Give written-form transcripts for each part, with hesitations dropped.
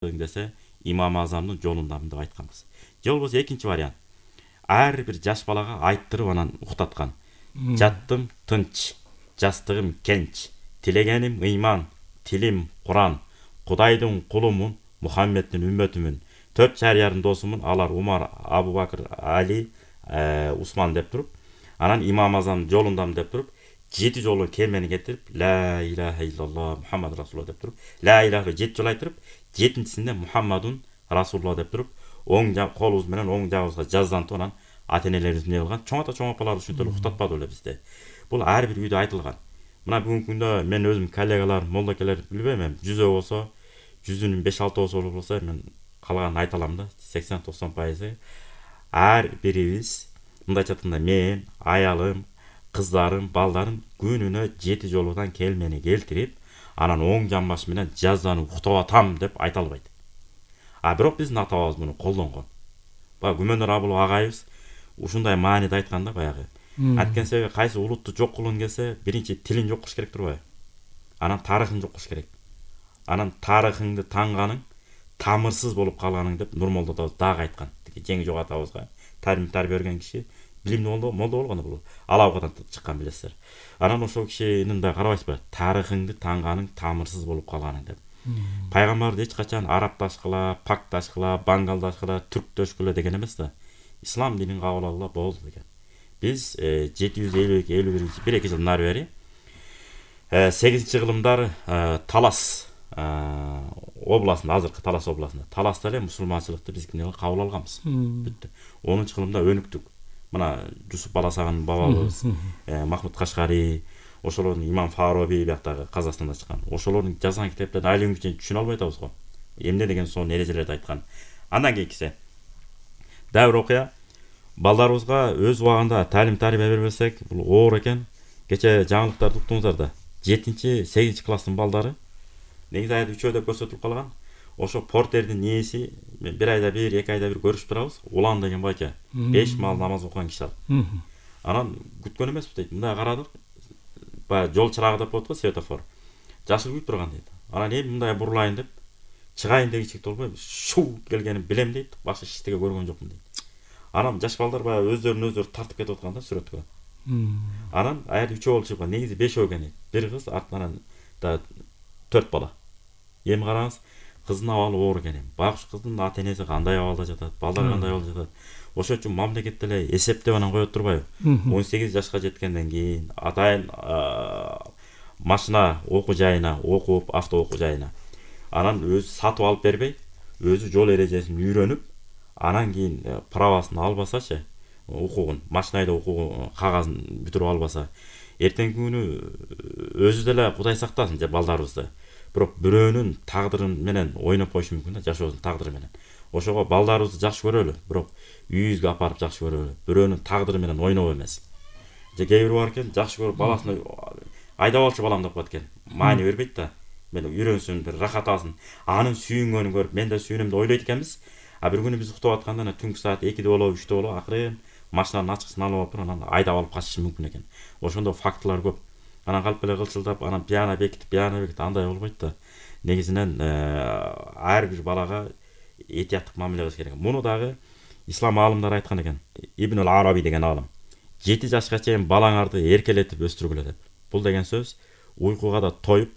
десе имам азамдын жолундамын деп айтканбыз. Же болбосо экинчи вариант. Ар бир жаш балага айттырып анан уктаткан. Жаттым тынч, жастыгым кенч, тилегеним ыйман, тилим Куран, Кудайдын кулумун, Мухаммеддин үммөтүмүн. 4 шариянын досумун, алар Умар, Абу Бакыр, Али, Усман деп туруп, анан имам азамдын жолундамын деп туруп, 7 жолу келмени кетирип, ла илаха иллаллах Мухаммад расулуллах деп туруп, ла илаха 7 жолу айтырып, 7-синде Мухаммадун расулуллах деп туруп, оң колубуз менен оң жагыбызга жаздантып анан ата-энелерибиз эмне кылган? Чоң ата чоң апалар ушинтип эле уктатпады беле бизди. Бул ар бир үйдө айтылган. Мына бүгүнкү күндө мен өзүм коллегалар, молдокелер билбейм, 100 болсо, 100-нүн 5-6 болсо мен калганын айта алам да, 80-90% ар бирибиз мындайча айтканда мен, аялым, кыздарым, балдарым күнүнө 7 жолудан келмени келтирип, анан оң жамбаш менен жазданып уктап атам деп айта албайт. Бирок биздин ата-бабабыз муну колдонгон. Баягы Күмөнөр Абыл агайыбыз ушундай мааниде айткан да баягы. Анткени себеби кайсы улутту жок кылгың келсе, биринчи тилин жок кылыш керек турбайбы? Анан тарыхын жок кылыш керек. Анан тарыхыңды таңганың тамырсыз болуп калганың деп Нурмолдо атабыз дагы айткан. Жеңи жок атабызга тарбия берген киши билимдүү молдо болгон бул. Алабадан чыккан билесиздер. Анан ошол кишинин мындай карабайсызбы? Тарыхыңды таңганың тамырсыз болуп калганың деп. Пайгамбарды эч качан арабдаш кыла, пакташ кыла, бангалдаш кыла, түрктөш кыла деген эмес да. Ислам динин кабыл алгыла болду деген. Биз 752-51 1-2 жыл нары бери 8-кылымдар Талас областында, азыркы Талас областында. Таласта эле мусулманчылыкты биз кабыл алганбыз. Бүттү. 10-кылымда өнүктүк. Мына Жусуп Баласаган бабабыз, Махмуд Кашкари, ошолордун Имам Фароби бияктагы Казакстанда чыккан. Ошолордун жазган китептерин али күнгө чейин түшүнө албай атабыз го. Эмне деген сонун эрежелерди айткан. Андан кийинкиси дабыр окуя. Балдарыбызга өз убагында талим тарбия бербесек, бул оор экен. Кече жаңылыктарды уктуңуздар да. 7-8 класстын балдары негизи айда 3 деп көрсөтүлүп калган. Ошо портердин ээси бир айда бир, 2 айда бир көрүшүп турабыз. Улан деген байча 5 маал намаз окуган киши ал. Анан күткөн эмеспи дейт. Мындай карадык. Баягы жол чырагы деп коет го, светофор. Жашы күйүп турган дейт. Анан эми мындай бурулайын деп чыгайын дегичек болбой, шу келгенин билем дейт. Башка эчтеке көргөн жокмун дейт. Анан жаш балдар баягы өздөрүн тартып кетип аткан да сүрөткө. Анан аят 3 болуп чыккан, негизи 5 экен дейт. Бир кыз, артынан да 4 бала. Эми караңыз, кыздын абалы оор экен. Багыш кыздын ата-энеси кандай абалда жатат, балдар кандай абалда жатат. Ошол үчүн мамлекет деле эсептеп анан коет турбайбы? 18 жашка жеткенден кийин атайын машина окуу жайына окуп, авто окуу жайына. Анан өзү сатып алып бербей, өзү жол эрежесин үйрөнүп, анан кийин правасын албасачы, укугун, машинада укугун кагазын бүтүрүп албаса, эртеңки күнү өзү деле Кудай сактасын же балдарыбызды. Бирок бирөөнүн тагдыры менен ойноп коюшу мүмкүн да, жашоосунун тагдыры менен. Ошого балдарыбызды жакшы көрөлү, бирок үйүбүзгө апарып жакшы көрөлү. Бирөөнүн тагдыры менен ойноп эмес. Же кээ бир бар экен, жакшы көрүп баласын айдап алчу балам деп коет экен. Маани бербейт да. Мен үйрөнсүн, бир рахат алсын. Анын сүйүнгөнүн көрүп, мен да сүйүнөм деп ойлойт экенбиз. Бир күнү биз уктап атканда түнкү саат 2-де болобу, 3-те болобу, акырын машинанын ачкычын алып алып туруп, анан айдап алып качышы мүмкүн экен. Ошондой фактылар көп. Анан калп эле кылчылдап, анан пьяно бекитип андай болбойт да. Негизинен ар бир балага этияттык мамиле кылыш керек. Муну дагы ислам аалымдары айткан экен. Ибн Араби деген аалым. 7 жашка чейин балаңарды эркелетип өстүргүлө деп. Бул деген сөз уйкуга да тоюп,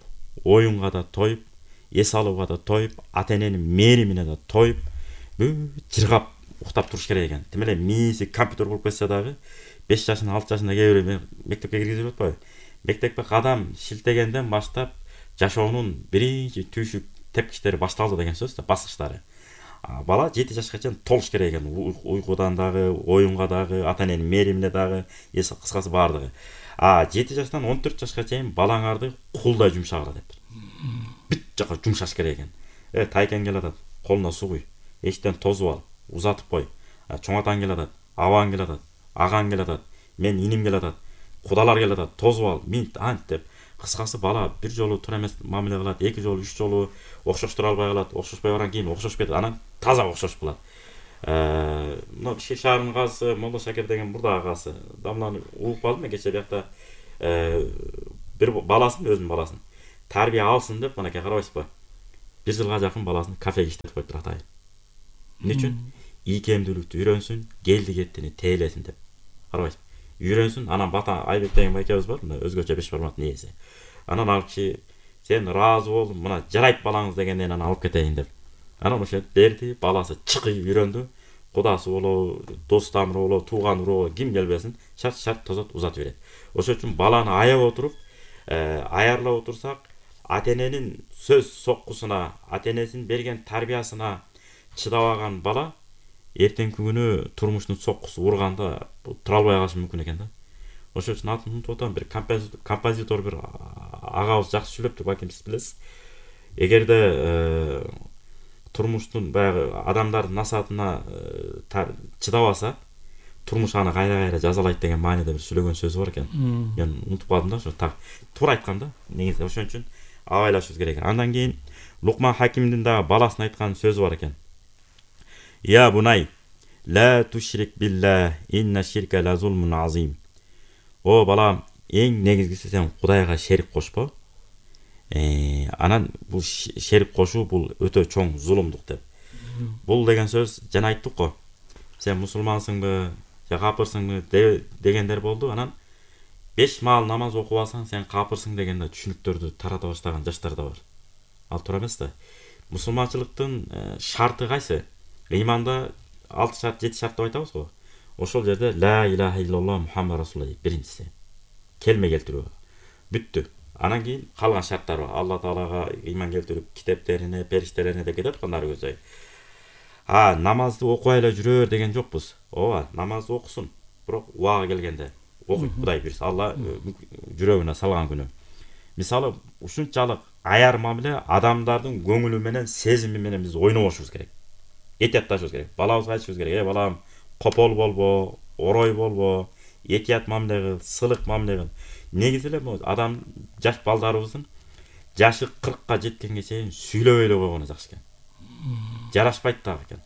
оюнга да тоюп, эс алууга да тоюп, ата-эненин мээримине да тоюп, жыргап уктап туруш керек экен. Тим эле мээси компьютер болуп кетсе дагы 5 жашында, 6 жашында кээ бир мектепке киргизип атпайбы? Мектепке кадам шилтегенден баштап жашоонун биринчи түйшүк тепкичтери башталды деген сөз да, баскычтары. Бала 7 жашка чейин толуш керек экен. Уйкудан дагы, оюнга дагы, ата-эненин мээримине дагы, кыскасы баардыгы. 7 жаштан 14 жашка чейин балаңарды кулдай жумшагыла деп. Бүт жака жумшаш керек экен. Тайкен келатат, колуна суу куй, эчтен тозуп ал, узатып кой. Чоң атаң келатат, абаң келатат, агаң келатат, мен иним келатат, кудалар келатат, тозуп ал, минт ант деп. Кыскасы бала бир жолу туура эмес мамиле кылат, 2 жолу, 3 жолу окшоштура албай калат, окшошпой барган кийин окшошуп кетет, анан таза окшошуп калат. Мына Бишкек шаарынын казысы Молдо Шакир деген бурдагы казысы. Дамланы угуп калдым мен кече биякта. Бир баласын, өзүнүн баласын тарбия алсын деп, мынакей карабайсызбы? 1 жылга жакын баласын кафеге иштетип коюптур атайын. Эмне үчүн? Ийкемдүүлүктү үйрөнсүн, келди кеттини тейлесин деп. Карабайсызбы? Үйрөнсүн, анан бата Айбек деген байкебиз бар, мына өзгөчө 5 бармактын ээси. Анан алып киши сен ыраазы болдум, мына жарайт балаңыз дегенден анан алып кетейин деп. Анан ошентип берди, баласы чыкый үйрөндү. Кудасы болобу, дос тамыры болобу, тууган уруу ким келбесин, шарт тозот узатып берет. Ошол үчүн баланы аяп отуруп, аярлап отурсак, ата-эненин сөз соккусуна, ата-энесинин берген тарбиясына чыдабаган бала эртеңки күнү турмуштун соккусу урганда тура албай калышы мүмкүн экен да. Ошол үчүн атын унутуп атам, бир композитор бир агабыз жакшы сүйлөптүр, балким сиз билесиз. Эгерде турмуштун баягы адамдардын насаатына чыдабаса, турмуш аны кайра жазалайт деген мааниде бир сүйлөгөн сөзү бар экен. Мен унутуп калдым да, ошо туура айткан да. Негизи ошон үчүн абайлашыбыз керек. Андан кийин Лукман Хакимдин дагы баласына айткан сөзү бар экен. Я бунай, ла тушрик билла, инна ширка ла зулмун азим. О балам, эң негизгиси сен Кудайга шерик кошпо. Анан бул шерик кошуу бул өтө чоң зулумдук деп. Бул деген сөз жана айттык го. Сен мусулмансыңбы, же капырсыңбы дегендер болду. Анан 5 маал намаз окубасаң сен капырсың дегенде түшүнүктөрдү тарата баштаган жаштар да бар. Ал туура эмес да. Мусулманчылыктын шарты кайсы? Иманда 6 шарт, 7 шарт деп айтабыз го. Ошол жерде ла илаха иллаллах Мухаммад расулуллах дейт биринчиси. Келме келтирүү. Бүттү. Анан кийин калган шарттар бар. Алла Таалага ыйман келтирип, китептерине, периштерине деп кетет кандай көзөй. Намазды окубай эле жүрөр деген жокпуз. Ооба, намазды окусун. Бирок убагы келгенде окуйт Кудай буйрса, Алла жүрөгүнө салган күнү. Мисалы, ушунчалык аяр мамиле адамдардын көңүлү менен, сезими менен биз ойнобошубуз керек. Этиятташыбыз керек. Балабызга айтышыбыз керек. Балам, копол болбо, орой болбо, этият мамиле кыл, сылык мамиле кыл. Негизи эле адам жаш балдарыбыздын жашы 40ка жеткенге чейин сүйлөбөй эле койгону жакшы экен. Жарашпайт дагы экен.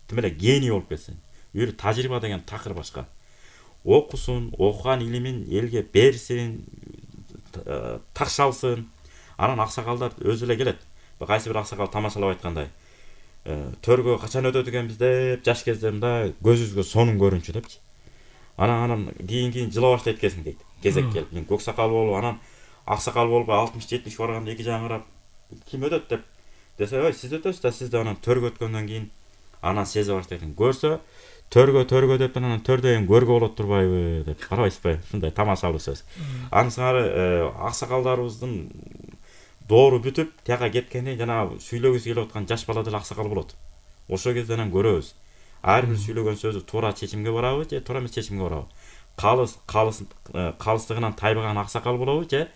Тим эле гений болуп кетсин. Бир тажрыйба деген такыр башка. Окусун, окуган илимин элге берсин, такшалсын. Анан аксакалдар өзү эле келет. Кайсы бир аксакал тамашалап айткандай. Төргө качан өтөт экенбиз деп жаш кездеримде көзүбүзгө сонун көрүнчү депчи. Анан кийин жыла баштайт экенсиң дейт. Кезек келип, мен көк сакал болуп, анан ак сакал болуп 60-70 барганда эки жагын карап, ким өтөт деп десе, ой, сиз өтөсүз да, сиз да анан төргө өткөндөн кийин анан сезе баштайт экен. Көрсө, төргө деп анан төрдөйүн көргө болот турбайбы деп. Карабайсызбы? Ушундай тамашалуу сөз. Анысыңары ак сакалдарыбыздын доору бүтүп, тияка кеткенде жанагы сүйлөгүсү келип аткан жаш бала деле ак сакал болот. Ошол кезде анан көрөбүз. Ар бир сүйлөгөн сөзү туура чечимге барабы же туура эмес чечимге барабы? Калыстыгынан тайбаган ак сакал болобу же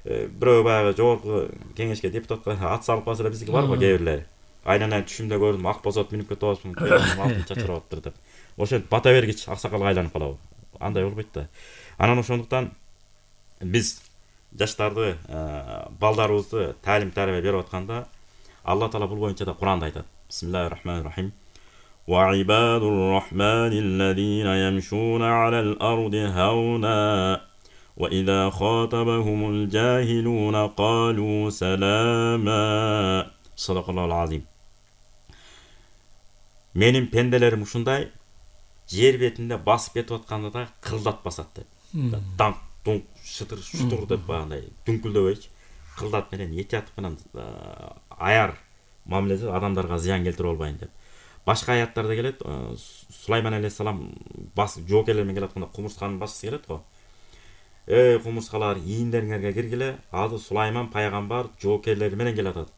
бирөө баягы жогорку кеңешке депутатка ат салып калса эле биздики барбы кээ бирлери. Айнанан түшүмдө көрдүм, ак босот мүнүп кетип атпын, алтын чачырап атыптыр деп. Ошентип бата бергич ак сакалга айланып калабы? Андай болбойт да. Анан ошондуктан биз жаштарды, балдарыбызды таалим тарбия берип атканда Алла Таала бул боюнча да Куранда айтат. Бисмиллахир-рахманир-рахим. وعباد الرحمن الذين يمشون على الأرض هونا وإذا خاطبهم الجاهلون قالوا سلاما. صدق الله العظيم. Менин пенделерим ушундай жер бетинде басып кетип атканда да кылдатпасат деп. Данк, дунк, шытыр, шутур деп багандай дүңкүлдөбөйчү. Кылдат менен этият менен аяр мамиледе адамдарга зыян келтире албайын деп. Башка аяттарда келет, Сулайман алейхиссалам жоокерлер менен келатканда кумурсканын башчысы келет го. Эй кумурскалар, ийиндериңерге киргиле, азыр Сулайман пайгамбар жоокерлери менен келатат.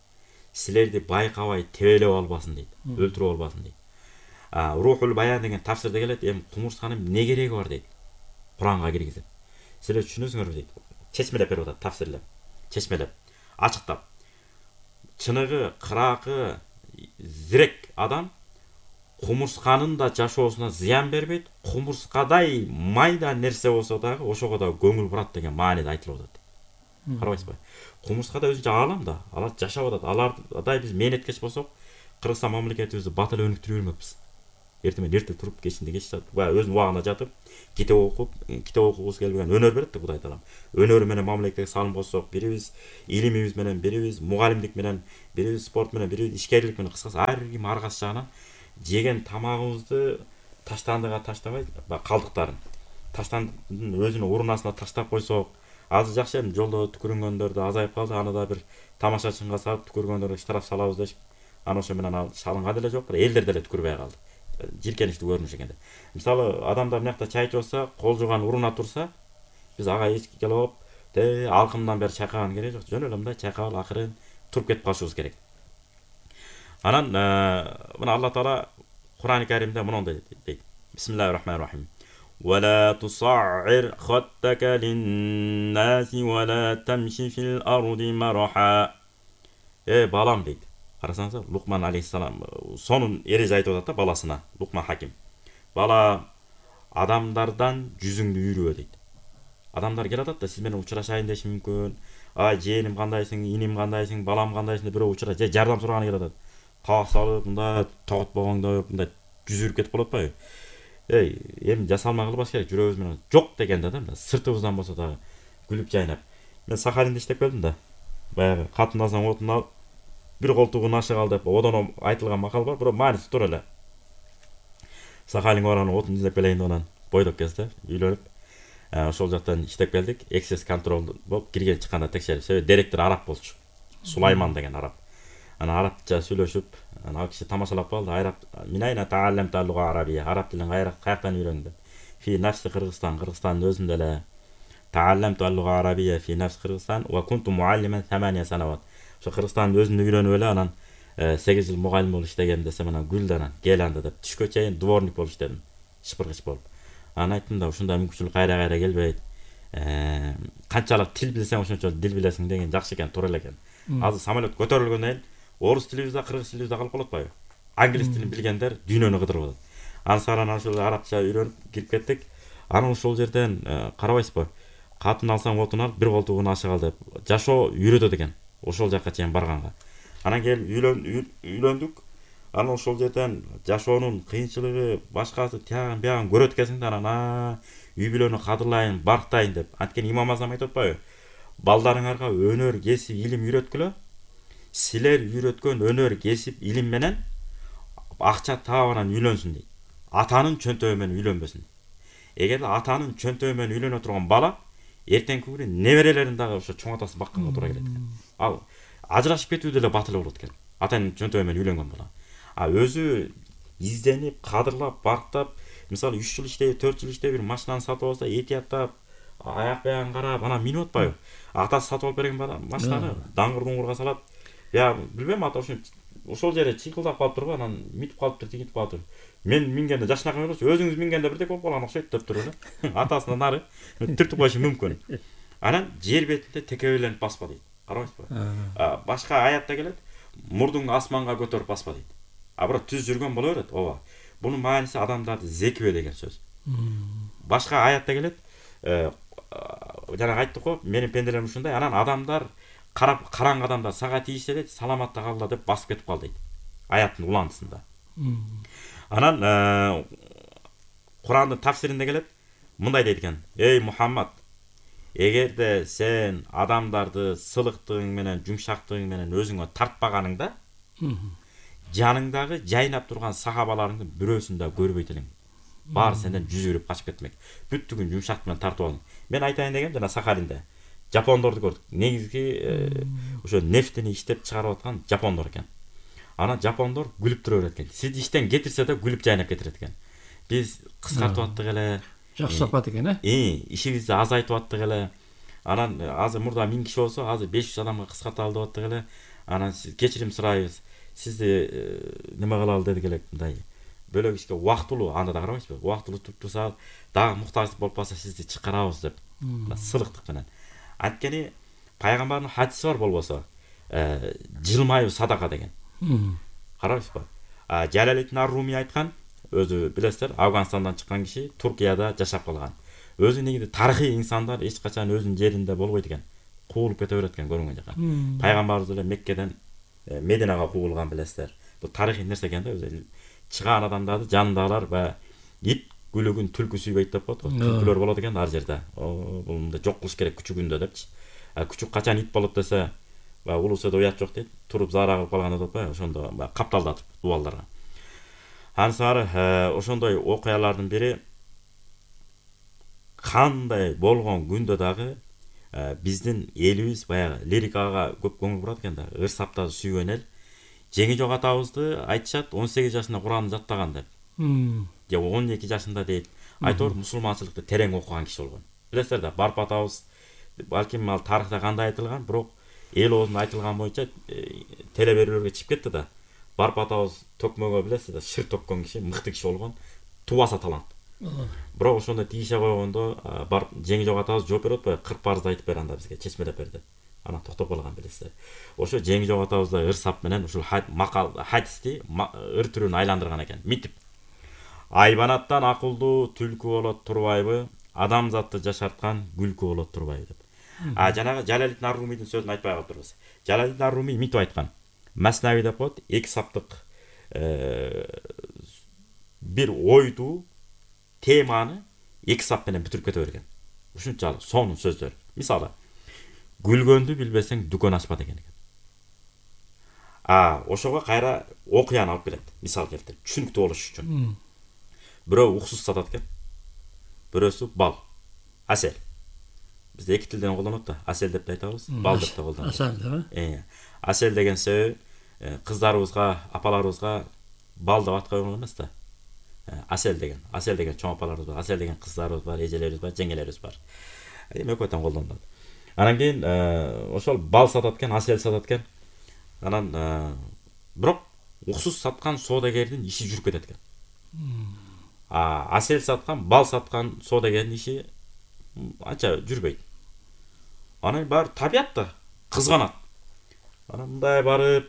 Силерди байкабай тебелеп албасын дейт, өлтүрүп албасын дейт. Рухул Баян деген тафсирде келет, кумурсканын эмне кереги бар дейт. Куранга киргизип. Силер түшүнөсүңөрбү дейт. Чечмелеп берип атат, тафсирлеп. Чечмелеп, ачыктап. Чыныгы, кыракы, зирек адам кумурсканын да жашоосуна зыян бербейт, кумурскадай майда нерсе болсо дагы ошого да көңүл бурат деген мааниде айтылып атат. Карабайсызбы? Кумурскада өзүнчө аалам да, алар жашап атат. Алардай биз мээнеткеч болсок, Кыргызстан мамлекетибизди бат эле өнүктүрө бермекпиз. эртең менен эрте туруп кечинде кеч жатып баягы өзүнүн убагында жатып китеп окугусу келбеген өнөр берет да Кудай таалам. Өнөрү менен мамлекетке салым кошсок бирибиз, илимибиз менен бирибиз, мугалимдик менен бирибиз, спорт менен бирибиз, ишкерлик менен, кыскасы ар ким ар кайсы жагынан жеген тамагыбызды таштандыга таштабай калдыктарын таштандын өзүнүн урунасына таштап койсок, азыр жакшы эми жолдо түкүрүнгөндөр да азайып калды. Аны да бир тамаша чыңга салып түкүргөндөргө штраф салабыз дешип, аны ошо менен ал салынган деле жок, элдер деле түкүрбөй калды. Жиркеничтүү көрүнүш экен. Мисалы адамдар мынакта чай ичип атса, кол жууган уруна турса, биз ага эч келип алкымдан бери чайкаган кереги жок. Жөн эле мындай чайкап акырын туруп кетип калышыбыз керек. Анан мына Алла Таала Кур'ан-ы Каримде мондай дейт. Бисмиллахир-рахманир-рахим. ولا تصعر خدك للناس ولا تمشي في الأرض مرحا. Балам дейт. Карасаңыздар, Лукман алейхиссалам сонун эреже айтып атат да баласына, Лукман хаким. Бала, адамдардан жүзүңдү үйрүбө дейт. Адамдар келип атат да сиз менен учурашайын деши мүмкүн. Жээним кандайсың, иним кандайсың, балам кандайсың деп бирөө учура же жардам сураганы келип атат. Каап салып, мындай тоготпогоңдоп, мындай жүзүрүп кетип калып атпайбы? Эми жасалма кылбаш керек, жүрөгүбүз менен жок дегенде да, сыртыбыздан болсо да күлүп жайнап. Мен Сахалинде иштеп келдим да. Баягы катын алсаң отун ал, бир колтугун ашык ал деп одон айтылган макал бар, бирок мааниси туура эле. Сахалинге барган отун издеп келейин деп анан бойдок кезде үйлөнүп, ошол жактан иштеп келдик. Эксес контрол болуп кирген чыкканда текшерип, себеби директор араб болчу. Сулайман деген араб. Анан арабча сүйлөшүп, анан ал киши тамашалап калды. Минайна тааллам таллуга арабия. Араб тилин каяктан үйрөндүм? Фи нафси Кыргызстан, Кыргызстандын өзүндө эле. Тааллам таллуга арабия фи нафси Кыргызстан ва кунту муаллиман 8 санават. Ошо Кыргызстандын өзүндө үйрөнүп эле анан 8 жыл мугалим болуп иштегем десем, анан гүлдө анан кел анда деп түшкө чейин дворник болуп иштедим. Шыпыргыч болуп. Анан айттым да, ушундай мүмкүнчүлүк кайра келбейт. Канчалык тил билсең, ошончо дил билесиң деген жакшы экен, туура эле экен. Азыр самолет көтөрүлгөндөн кийин орус тилибизде, кыргыз тилибизде калып калып атпайбы? Англис тилин билгендер дүйнөнү кыдырып атат. Ансаран ошол арабча үйрөнүп кирип кеттик. Анан ошол жерден карабайсызбы? Катын алсаң отун ал, бир колтугун ашык ал деп жашоо үйрөтөт экен. Ошол жакка чейин барганга. Анан келип үйлөндүк. Анан ошол жерден жашоонун кыйынчылыгы, башкасы тиягын биягын көрөт экенсиң да, анан үй бүлөнү кадырлайын, барктайын деп. Анткени Имам Азам айтып атпайбы? Балдарыңарга өнөр, кесип, илим үйрөткүлө. Силер үйрөткөн өнөр, кесип, илим менен акча таап анан үйлөнсүн дейт. Атанын чөнтөгү менен үйлөнбөсүн. Эгерде атанын чөнтөгү менен үйлөнө турган бала эртеңки күнү неберелерин дагы ошо чоң атасы бакканга туура келет экен. Ал ажырашып кетүү деле батыл болот экен. Атанын чөнтөгү менен үйлөнгөн бала. Өзү изденип, кадырлап, барктап, мисалы 3 жыл иштеп, 4 жыл иштеп, бир машинаны сатып алса, этияттап, аяк баягын карап, анан минип атпайбы? Атасы сатып алып берген машинаны даңгыр-дуңгурга салат. Я билбейм, ата ошол жерде чыйкылдап калыптырбы, анан митип калыптыр, тигинтип калыптыр. Мен мингенде жашынакай болчу, өзүңүз мингенде бирдек болуп калган окшойт деп туруп эле. Атасынан нары түртүп коюшу мүмкүн. Анан жер бетинде текебеленип баспа дейт. Карабайсызбы? Башка аятта келет, мурдуңду асманга көтөрүп баспа дейт. Бирок түз жүргөн боло берет, ооба. Бунун мааниси адамдарды зекибе деген сөз. Башка аятта келет, жана айттык го, менин пенделерим ушундай, анан адамдар караң адамдар сага тийишсе дейт, саламатта калла деп басып кетип кал дейт. Аяттын улантысында. Анан Курандын тафсиринде келет, мындай дейт экен: "Эй Мухаммад, эгерде сен адамдарды сылыктыгың менен, жумшактыгың менен өзүңө тартпаганыңда, жаныңдагы жайнап турган сахабаларыңдын бирөөсүн да көрбөйт элең. Баары сенден жүзүрүп качып кетмек. Бүттүгүн жумшак менен тартып алың." Мен айтайын дегем, жана Сахалинде жапондорду көрдүк. Негизги ошо нефтини иштеп чыгарып аткан жапондор экен. Анан жапондор күлүп тура берет экен. Сизди иштен кетирсе да күлүп жайнап кетирет экен. Биз кыскартып аттык эле. Жакшы сапат экен, ишибизди азайтып аттык эле. Анан азыр мурда 1000 киши болсо, азыр 500 адамга кыскарталы деп аттык эле. Анан сиз кечирим сурайбыз. Сизди неме кылалы дедик эле, мындай бөлөк ишке убактылуу, анда да карабайсызбы? Убактылуу туруп турса, дагы муктаждык болуп калса сизди чыкарабыз деп. Сылыктык менен. Анткени пайгамбардын хадиси бар болбосо, жылмаюу садака деген. Карабайсызбы? Жалалидин ар-Руми айткан, өзү билесиздер, Афганстандан чыккан киши, Туркияда жашап калган. Өзү негизи тарыхый инсандар эч качан өзүнүн жеринде болбойт экен. Куулуп кете берет экен көрүнгөн жака. Пайгамбарыбыз эле Меккеден Мединага куулган, билесиздер. бул тарыхый нерсе экен да. Өзү чыгаан адамдарды жанындагылар баягы ит күлүгүн түлкү сүйбөйт деп коет го. Түлкүлөр болот экен ар жерде. Бул мындай жок кылыш керек күчүгүндө депчи. Күчүк качан ит болот десе, баягы улуусада уят жок дейт. Туруп заара кылып калганда деп баягы ошондо баягы капталдатып дубалдарга. Ансары ошондой окуялардын бири кандай болгон күндө дагы биздин элибиз баягы лирикага көп көңүл бурат экен да. Ыр саптарды сүйгөн эл. Жеңи жок атабызды айтышат 18 жашында Куранды жаттаган деп. Же 12 жашында дейт. Айтор мусулманчылыкты терең окуган киши болгон. Билесиздер да, Барп атабыз балким ал тарыхта кандай айтылган, бирок эл оозунда айтылган боюнча теле берүүлөргө чыгып кетти да. Барп атабыз төкмөгө билесиз да, шыр төккөн киши, мыкты киши болгон, тубаса талант. Бирок ошондо тийише койгондо барып Жеңи жок атабыз жооп берип атпайбы, 40 парызды айтып бер анда бизге, чечмелеп бер деп. Анан токтоп калган билесиздер. Ошо Жеңи жок атабыз да ыр сап менен ушул макал хадисти ыр түрүн айландырган экен. Митип. Айбанаттан акылдуу түлкү болот турбайбы, адамзатты жашарткан күлкү болот турбайбы деп. Жанагы Жалалидин ар-Румийдин сөзүн айтпай калдырбыз. Жалалидин ар-Румий митип айткан. Маснави деп коет, 2 саптык бир ойду, теманы 2 сап менен бүтүрүп кете берген. Ушунчалык сонун сөздөр. Мисалы, күлгөндү билбесең дүкөн ачпа деген экен. Ошого кайра окуяны алып келет. Мисал келтирип, түшүнүктүү болуш үчүн. Бирөө уксус сатат экен. Бирөөсү бал, асел. Бизде эки тилден колдонот да. Асел деп да айтабыз, бал деп да колдонот. Асел деп. Асел деген себеби кыздарыбызга, апаларыбызга бал деп ат койгон эмес да. Асел деген чоң апаларыбыз бар, асел деген кыздарыбыз бар, эжелерибиз бар, жеңелерибиз бар. Экөөтөн колдонулат. Анан кийин ошол бал сатат экен, асел сатат экен. Анан бирок уксус саткан соодагердин иши жүрүп кетет экен. Асел саткан, бал саткан соодагердин иши анча жүрбөйт. Анан баары табият да, кызганат. Анан мындай барып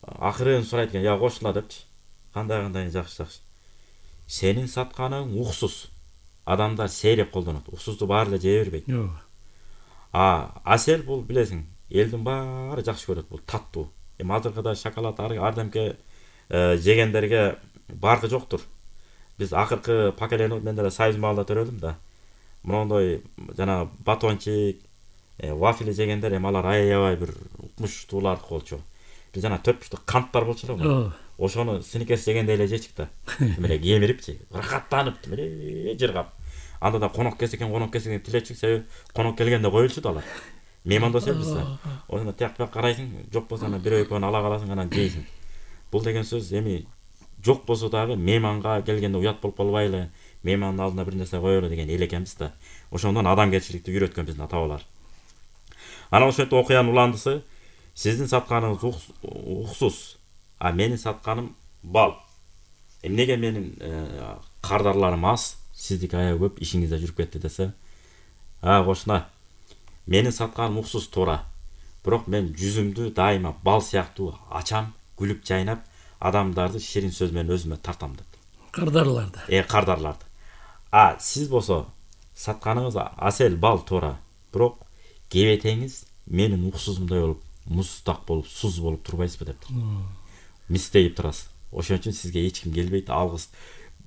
акырын сурайт экен, "Я кошула" депчи. Кандай жакшы. Сенин сатканың уксус. Адамдар сейреп колдонот. Уксусту баары эле жей бербейт. Асел бул билесиң, элдин баары жакшы көрөт, бул таттуу. Азыркыда шоколад ардемке жегендерге баркы жоктур. Биз акыркы поколение, мен деле Союз маалда төрөлдүм да. Мондой жана батончик, вафли жегендер алар аябай бир укмуштууларды болчу. Биз жана 4 буштук канттар болчу да. Ошону сникерс жегендей эле жечик да. Мына кемирипчи, рахаттанып, мына жыргап. Анда да конок келсе экен тилечик, себеби конок келгенде коюлчу да алар. Меймандособуз биз да. Ошондо тияк карайсың, жок болсо ана бирөө экөөнү ала каласың, анан жейсиң. Бул деген сөз эми жок болсо дагы мейманга келгенде уят болуп калбайлы, меймандын алдына бир нерсе коелу деген эл экенбиз да. Ошондон адамгерчиликти үйрөткөн биздин ата-бабалар. Анан ошентип окуянын уландысы, сиздин сатканыңыз уксус, менин сатканым бал. Эмнеге менин кардарларым аз, сиздики аябай көп, ишиңизде жүрүп кетти десе, кошуна. Менин сатканым уксус туура. Бирок мен жүзүмдү дайыма бал сыяктуу ачам, күлүп жайнап, адамдарды ширин сөз менен өзүмө тартам деп. Кардарларды. Кардарларды. Сиз болсо сатканыңыз асел, бал туура. Бирок кебетеңиз менин уксусумдай болуп, муздак болуп, суз болуп турбайсызбы деп. Мистейип турасыз. Ошон үчүн сизге эч ким келбейт, алгыс.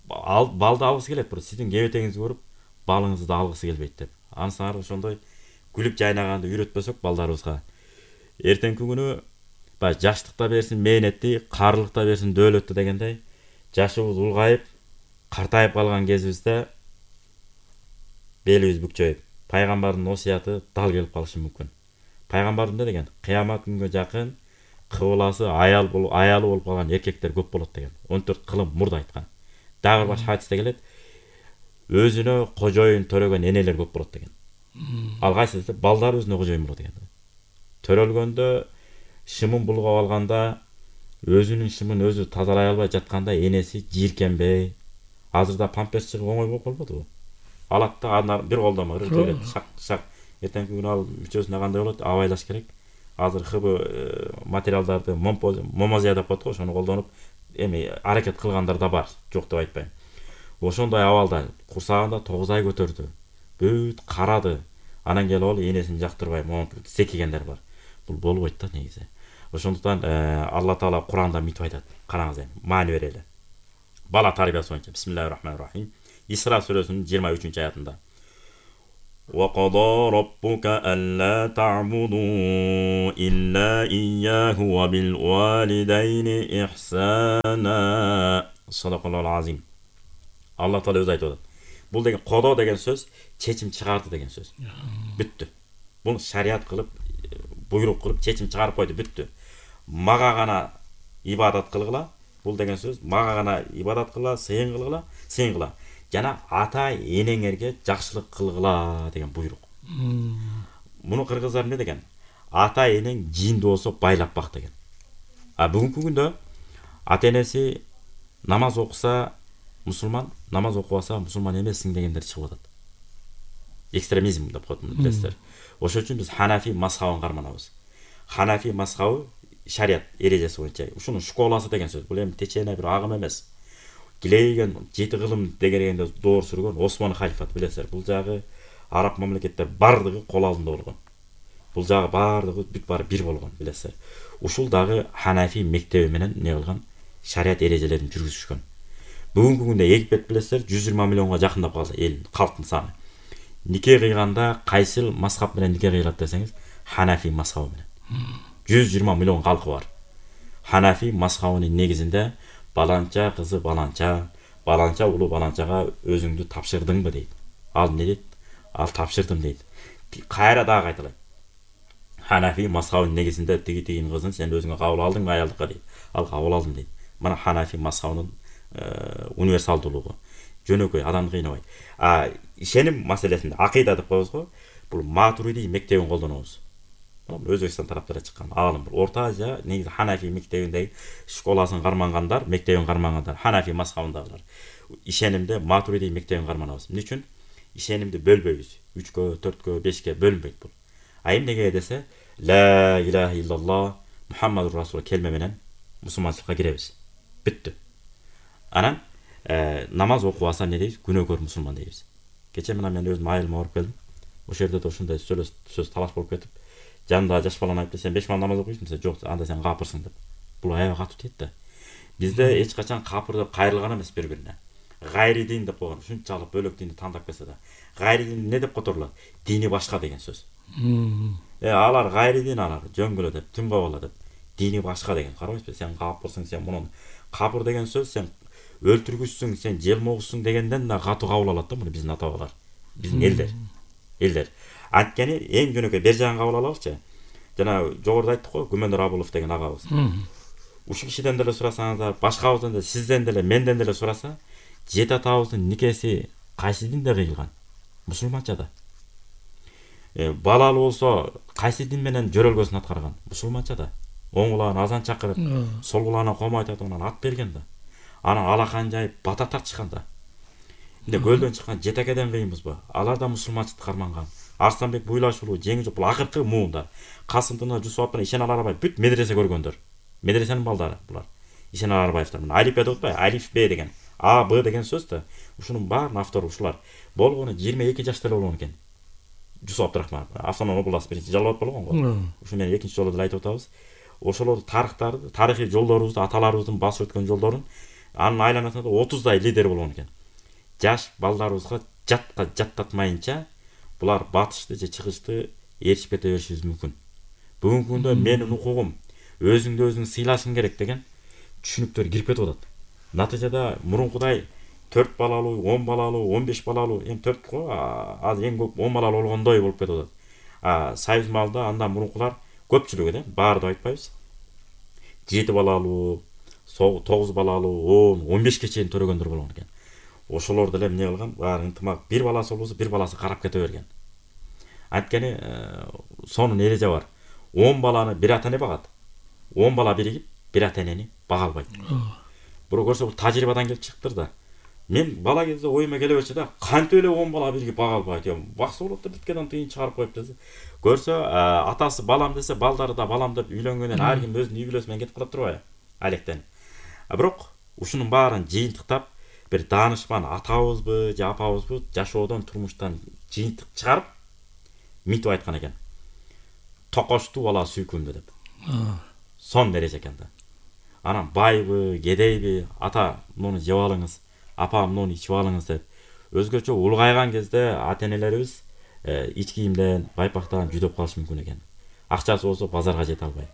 Балды алгысы келет, бирок сиздин кебетеңизди көрүп, балыңызды да алгысы келбейт деп. Ансары ошондой күлүп жайнаганды үйрөтпөсөк балдарыбызга, эртеңки күнү жаштыкта берсин мээнетти, каарылыкта берсин дөөлөттү дегендей, жашыбыз улгайып, картайып калган кезибизде белибиз бүкчөйүп, пайгамбардын осуяты дал келип калышы мүмкүн. Пайгамбар эмне деген? Кыямат күнгө жакын кыбыласы аялы болуп калган эркектер көп болот деген. 14 кылым мурда айткан. Дагы бир башка хадисте келет. Өзүнө кожоюн төрөгөн энелер көп болот деген. Ал кайсы десе, балдар өзүнө кожоюн болот деген. Төрөлгөндө шымын булгап алганда, өзүнүн шымын өзү тазалай албай жатканда энеси жийиркенбей, азырда памперс чыгып оңой болуп калбадыбы? Алат да бир колдомо ыргытып шак. Эртеңки күнү ал мүчөсүнө кандай болот? Абайлаш керек. Азыр ХБ материалдарды момозия деп коет го, ошону колдонуп эми аракет кылгандар да бар, жок деп айтпайм. Ошондой абалда курсагында 9 ай көтөрдү. Бүт карады. Анан келип ал энесин жактырбай секигендер бар. Бул болбойт да негизи. Ошондуктан Алла Таала Куранда мынтип айтат. Караңыз эми, маани берели. Бала тарбиясы боюнча Бисмиллахир-рахманир-рахим. Исра сүрөсүнүн 23-аятында. وَقَضَى رَبُّكَ أَلَّا تَعْبُدُوا إِلَّا إِيَّاهُ وَبِالْوَالِدَيْنِ إِحْسَانًا. Sadaqallahul azim. Алла Таала өзү айтып атат. Бул деген кодо деген сөз чечим чыгарды деген сөз. Бүттү. Буну шарият кылып, буйрук кылып чечим чыгарып койду, бүттү. Мага гана ибадат кылгыла. Бул деген сөз мага гана ибадат кылгыла, сыйын кылгыла. Жана ата энеңерге жакшылык кылгыла деген буйрук. Муну кыргыздар эмне деген? Ата энең жиинде болсо байлап бак деген. Бүгүнкү күндө ата энеси намаз окуса мусулман, намаз окубаса мусулман эмессиң дегендер чыгып атат. Экстремизм деп коет, билесиздер. Ошон үчүн биз Ханафи мазхабын карманабыз. Ханафи мазхабы шарият эрежеси боюнча. Ушунун школасы деген сөз. Бул эми течене бир агым эмес. Килейген 7 кылым дегенде доор сүргөн Осман халифат, билесиздер. Бул жагы араб мамлекеттер бардыгы кол алдында болгон. Бул жагы бардыгы бүт баары бир болгон, билесиздер. Ушул дагы Ханафи мектеби менен не кылган, шарият эрежелерин жүргүзүшкөн. Бүгүнкү күндө Египет, билесиздер, 120 миллионго жакындап калды эл калктын саны. Нике кыйганда кайсыл мазхаб менен нике кыйлат десеңиз, Ханафи мазхабы менен. 120 миллион калкы бар. Ханафи мазхабынын негизинде баланча кызы баланча, баланча улуу баланчага өзүңдү тапшырдыңбы дейт. Ал не дейт? Ал тапшырдым дейт. Кайра дагы кайталайт. Ханафи мазхабынын негизинде тигин кызын сен өзүңө кабыл алдыңбы аялдыкка дейт. Ал кабыл алдым дейт. Мына Ханафи мазхабынын универсалдуулугу. Жөнөкөй адамды кыйнабайт. Ишеним маселесинде акыйда деп коебуз го. Бул Матуриди мектебин колдонобуз. Өзбекстан тараптара чыккан аалым. Орто Азия негизи Ханафи мектебиндеги школасын кармангандар, мектебин кармангандар, Ханафи мазхабындагылар. Ишенимде Матуриди мектебин карманабыз. Эмне үчүн? Ишенимди бөлбөйбүз. 3кө, 4кө, 5ке бөлүнбөйт бул. Эмнеге десе, ла илаха иллаллах Мухаммадур Расул келме менен мусулманчылыкка киребиз. Бүттү. Анан намаз окубаса не дейбиз? Күнөөкөр мусулман дейбиз. Кече мен өзүм айылыма барып келдим. Ошол жерде да ушундай сөз талаш болуп кетип, жанында жаш баланы айтып, сен 5 мал намаз окуйсуң, десе, жок, анда сен капырсың деп. Бул аябай катуу тиет да. Бизде эч качан капыр деп кайрылган эмес бири-бирине. Гайри дин деп койгон, ушунчалык бөлөк динди тандап келсе да. Гайри дин эмне деп которулат? Дини башка деген сөз. Алар гайри дин, алар жөнгөлө деп, түнгө деп. Дини башка деген. Карабайсызбы? Сен капырсың, сен мунун. Капыр деген сөз сен өлтүргүчсүң, сен желмогусуң дегенден да катуу кабыл алат да муну биздин ата-бабалар. Биздин элдер. Анткени эң жөнөкөй бер жагын кабыл алалычы. Жана жогоруда айттык го, Күмөндөр Абулов деген агабыз. Ушул кишиден деле сурасаңыздар, башкабыздан да, сизден деле, менден деле сураса, жет атабыздын никеси кайсы динде кыйылган? Мусулманчада. Балалы болсо, кайсы дин менен жөрөлгөсүн аткарган? Мусулманчада. Оң кулагына азан чакырып, сол кулагына ком айтып анан ат берген да. Анан алакан жайып бата тартышкан да. Эмне көлдөн чыккан жетекеден кыйынбызбы? Алар да мусулманчылыкты карманган. Арстанбек Буйлашулуу, Жеңиш бул акыркы муундар. Касымдын Жусупов менен Ишенал Арабаев бүт медресе көргөндөр. Медресенин балдары булар. Ишенал Арабаевдер. Мына алиф деп атпайбы? Алиф Б деген. А, Б деген сөз да. Ушунун баарынын автору ушулар. Болгону 22 жашта эле болгон экен. Жусуп Абдырахманов, Автономдук область биринчи жалбат болгон го. Ушу менен экинчи жолу деле айтып атабыз. Ошолорду тарыхый жолдорубузду, аталарыбыздын басып өткөн жолдорун анын айланасында 30дай лидер болгон экен. Жаш балдарыбызга жаттатмайынча булар батышты же чыгышты ээрчип кете беришибиз мүмкүн. Бүгүнкү күндө менин укугум өзүңдү өзүң сыйлашың керек деген түшүнүктөр кирип кетип атат. Натыйжада мурункудай 4 балалуу, 10 балалуу, 15 балалуу, эми 4 го, азыр эң көп 10 балалуу болгондой болуп кетип атат. Союз малда андан мурункулар көпчүлүгү да, баары деп айтпайбыз. 7 балалуу, 9 балалуу, 10, 15ке чейин төрөгөндөр болгон экен. Ошолор деле эмне кылган? Баары ынтымак, бир баласы болсо бир баласы карап кете берген. Анткени сонун эреже бар. 10 баланы бир ата эне багат. 10 бала биригип бир ата энени бага албайт. Бирок көрсө бул тажрыйбадан келип чыктыр да. Мен бала кезде оюма келе берчи да, кантип эле 10 бала биригип бага албайт? Бакса болот да, биткенден тыйын чыгарып коюп десе. Көрсө, атасы балам десе, балдары да балам деп үйлөнгөндөн ар ким өзүнүн үй бүлөсү менен кетип калат турбайбы? Алектен. Бирок ушунун баарын жыйынтыктап бир даанышман атабызбы же апабызбы жашоодон, турмуштан жыйынтык чыгарып мынтип айткан экен. Токошту бала сүйкүмдү деп. сон дереже экен да. Анан байбы, кедейби, ата муну жеп алыңыз, апа муну ичип алыңыз деп өзгөчө улгайган кезде ата-энелерибиз ич кийимден, байпактан жүдөп калышы мүмкүн экен. Акчасы болсо базарга жете албай.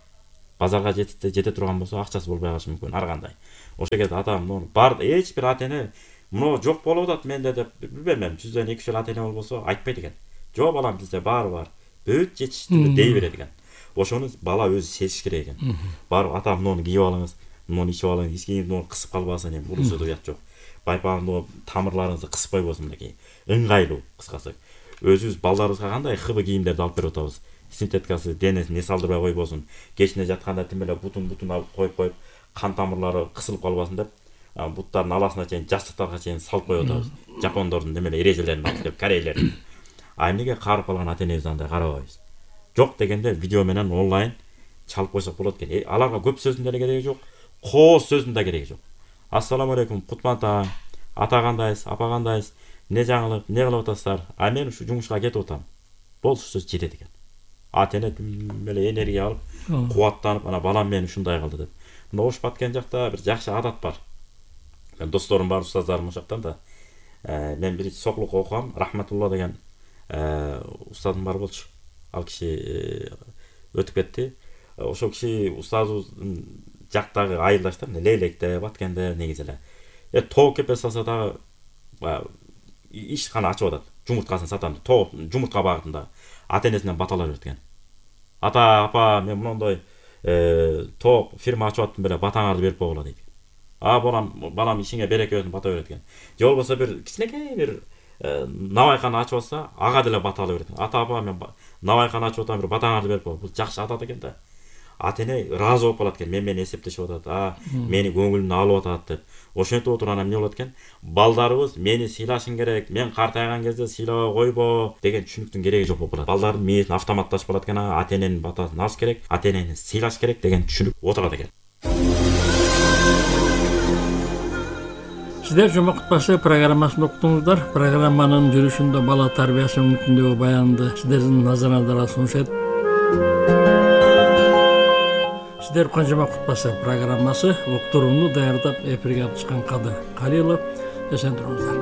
Базарга жете турган болсо акчасы болбой калышы мүмкүн ар кандай. Ошол кезде ата муну бар эч бир ата-эне муну жок болуп атат менде деп билбейм, 100дөн 200 ата-эне болбосо айтпайт экен. Жок балам бизде баары бар. Бүт жетиштүү дей берет экен. Ошону бала өзү сезиш керек экен. Барып ата муну кийип алыңыз, муну ичип алыңыз, ич кийимди кысып калбасын, эми урусуда уят жок. Байпагыңды тамырларыңызды кысып койбосун мынакей. Ыңгайлуу кыскасы. Өзүбүз балдарыбызга кандай хыбы кийимдерди алып берип атабыз. Синтеткасы денесин салдырбай койбосун. Кечине жатканда тим эле бутун алып коюп кан тамырлары кысылып калбасын деп буттардын аласына чейин, жастыктарга чейин салып коюп атабыз. Жапондордун немеле эрежелерин алып деп, корейлердин. А эмнеге карып калган ата-энебиз андай карабайбыз? Жок дегенде видео менен онлайн чалып койсок болот экен. Аларга көп сөздүн деле кереги жок, кооз сөздүн да кереги жок. Ассаламу алейкум, кутман таң, ата кандайсыз, апа кандайсыз, эмне жаңылык, эмне кылып атасыздар? А мен ушу жумушка кетип атам. Болчу сөз жетет экен. Ата-эне эле энергия алып, кубаттанып, ана балам мен ушундай кылды деп. Мына Ош Баткен жакта бир жакшы адат бар. Мен досторум бар, устаздарым ошоктан да. Мен бир соклук окугам, Рахматулла деген устазым бар болчу. Ал киши өтүп кетти. Ошол киши устазыбыздын жактагы айылдаштар, Лейлекте, Баткенде негизи эле. Тоо кепе салса дагы ишкана ачып атат. Жумурткасын сатам деп, жумуртка багытында ата-энесинен баталар берет экен. Ата, апа, мен мондой тоок фирма ачып аттым беле, батаңарды берип койгула дейт. Балам ишиңе береке болсун, бата берет экен. Же болбосо бир кичинекей бир навайканы ачып атса, ага деле баталы берет экен. Ата, апа, мен навайканы ачып атам, бир батаңарды берип кой. Бул жакшы адат экен да. Ата-эне ыраазы болуп калат экен. Мени эсептешип атат, мени көңүлүмдү алып атат деп. Ошентип отуруп анан эмне болот экен? Балдарыбыз мени сыйлашың керек, мен картайган кезде сыйлабай койбо деген түшүнүктүн кереги жок болуп калат. Балдардын мээсин автоматташып калат экен, ата-эненин батасын алыш керек, ата-энени сыйлаш керек деген түшүнүк отурат экен. Сиздер жума кутпасы программасын уктуңуздар. Программанын жүрүшүндө бала тарбиясы мүмкүндүгү баянды сиздердин назарыңыздарга сунушат. Сиздер жума кутпасы программасы уктурууну даярдап эфирге алып чыккан Кадыр Калилов. Эсен туруңуздар.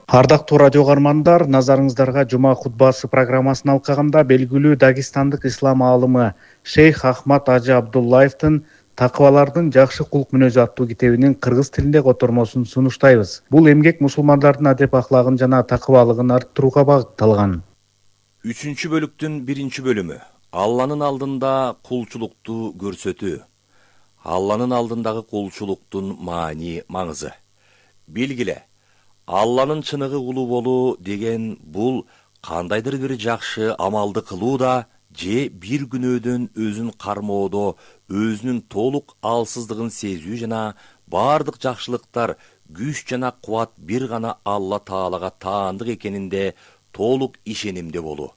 Ардактуу радио каармандар, назарыңыздарга жума хутбасы программасын алкаганда белгилүү дагестандык ислам аалымы Шейх Ахмад Ажы Абдуллаевдин Такыбалардын жакшы кулк мүнөзү аттуу китебинин кыргыз тилинде котормосун сунуштайбыз. Бул эмгек мусулмандардын адеп аклагын жана такыбалыгын арттырууга багытталган. 3-бөлүктүн 1-бөлүмү. Алланын алдында кулчулукту көрсөтүү. Алланын алдындагы кулчулуктун маани, маңызы. Белгиле, Алланын чыныгы кулу болуу деген бул кандайдыр бир жакшы амалды кылууда же бир күнөөдөн өзүн кармоодо өзүнүн толук алсыздыгын сезүү жана бардык жакшылыктар, күч жана кубат бир гана Алла Таалага таандык экенинде толук ишенимде болуу.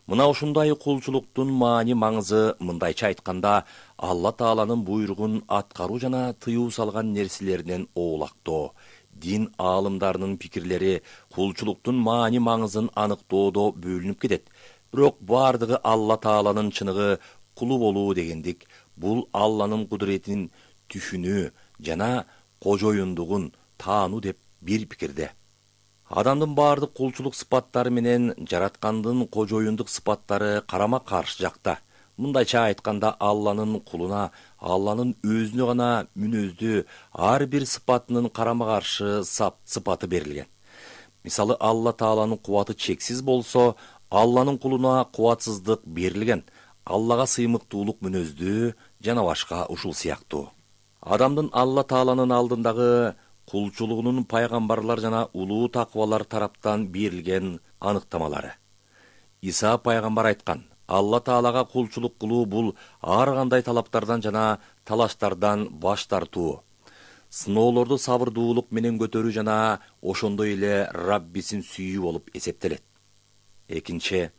Мына ушундай кулчулуктун маани, маңызы мындайча айтканда Алла Тааланын буйругун аткаруу жана тыюу салган нерселеринен оолактоо. Дин аалымдарынын пикирлери кулчулуктун маани, маңызын аныктоодо бөлүнүп кетет. Бирок бардыгы Алла Тааланын чыныгы кулу болуу дегендик, бул Алланын кудуретин түшүнүү жана кожоюндугун таануу деп бир пикирде. Адамдын бардык кулчулук сыпаттары менен жараткандын кожоюндук сыпаттары карама каршы жакта. Мындайча айтканда Алланын кулуна Алланын өзүнө гана мүнөздүү ар бир сыпатынын карама каршы сыпаты берилген. Мисалы, Алла Тааланын кубаты чексиз болсо, Алланын кулуна кубатсыздык берилген. Аллага сыймыктуулук мүнөздүү жана башка ушул сыяктуу. Адамдын Алла Тааланын алдындагы кулчулугунун пайгамбарлар жана улуу такыбалар тараптан берилген аныктамалары. Иса пайгамбар айткан: Алла Таалага кулчулук кылуу бул ар кандай талаптардан жана талаштардан баш тартуу, сыноолорду сабырдуулук менен көтөрүү жана ошондой эле Раббисин сүйүү болуп эсептелет. Экинчи,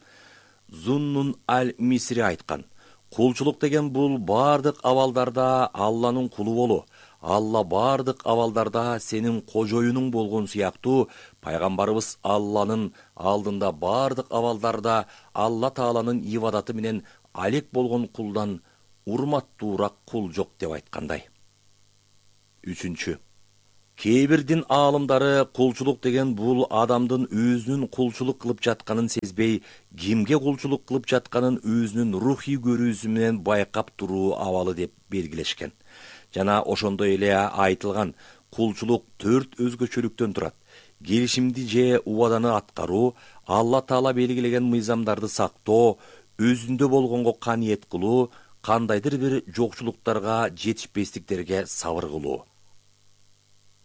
Зуннун аль-Мисри айткан: кулчулук деген бул бардык абалдарда Алланын кулу болуу, Алла бардык абалдарда сенин кожоюнуң болгон сыяктуу, пайгамбарыбыз Алланын алдында бардык абалдарда Алла Тааланын ибадаты менен алек болгон кулдан урматтуураак кул жок деп айткандай. 3. Кээ бир дин аалымдары кулчулук деген бул адамдын өзүнүн кулчулук кылып жатканын сезбей, кимге кулчулук кылып жатканын өзүнүн рухий көрүүсү менен байкап туруу абалы деп белгилешкен. Жана ошондой эле айтылган кулчулук 4 өзгөчөлүктөн турат. Келишимди же убаданы аткаруу, Алла Таала белгилеген мыйзамдарды сактоо, өзүндө болгонго каниет кылуу, кандайдыр бир жокчулуктарга жетишпестиктерге сабыр кылуу.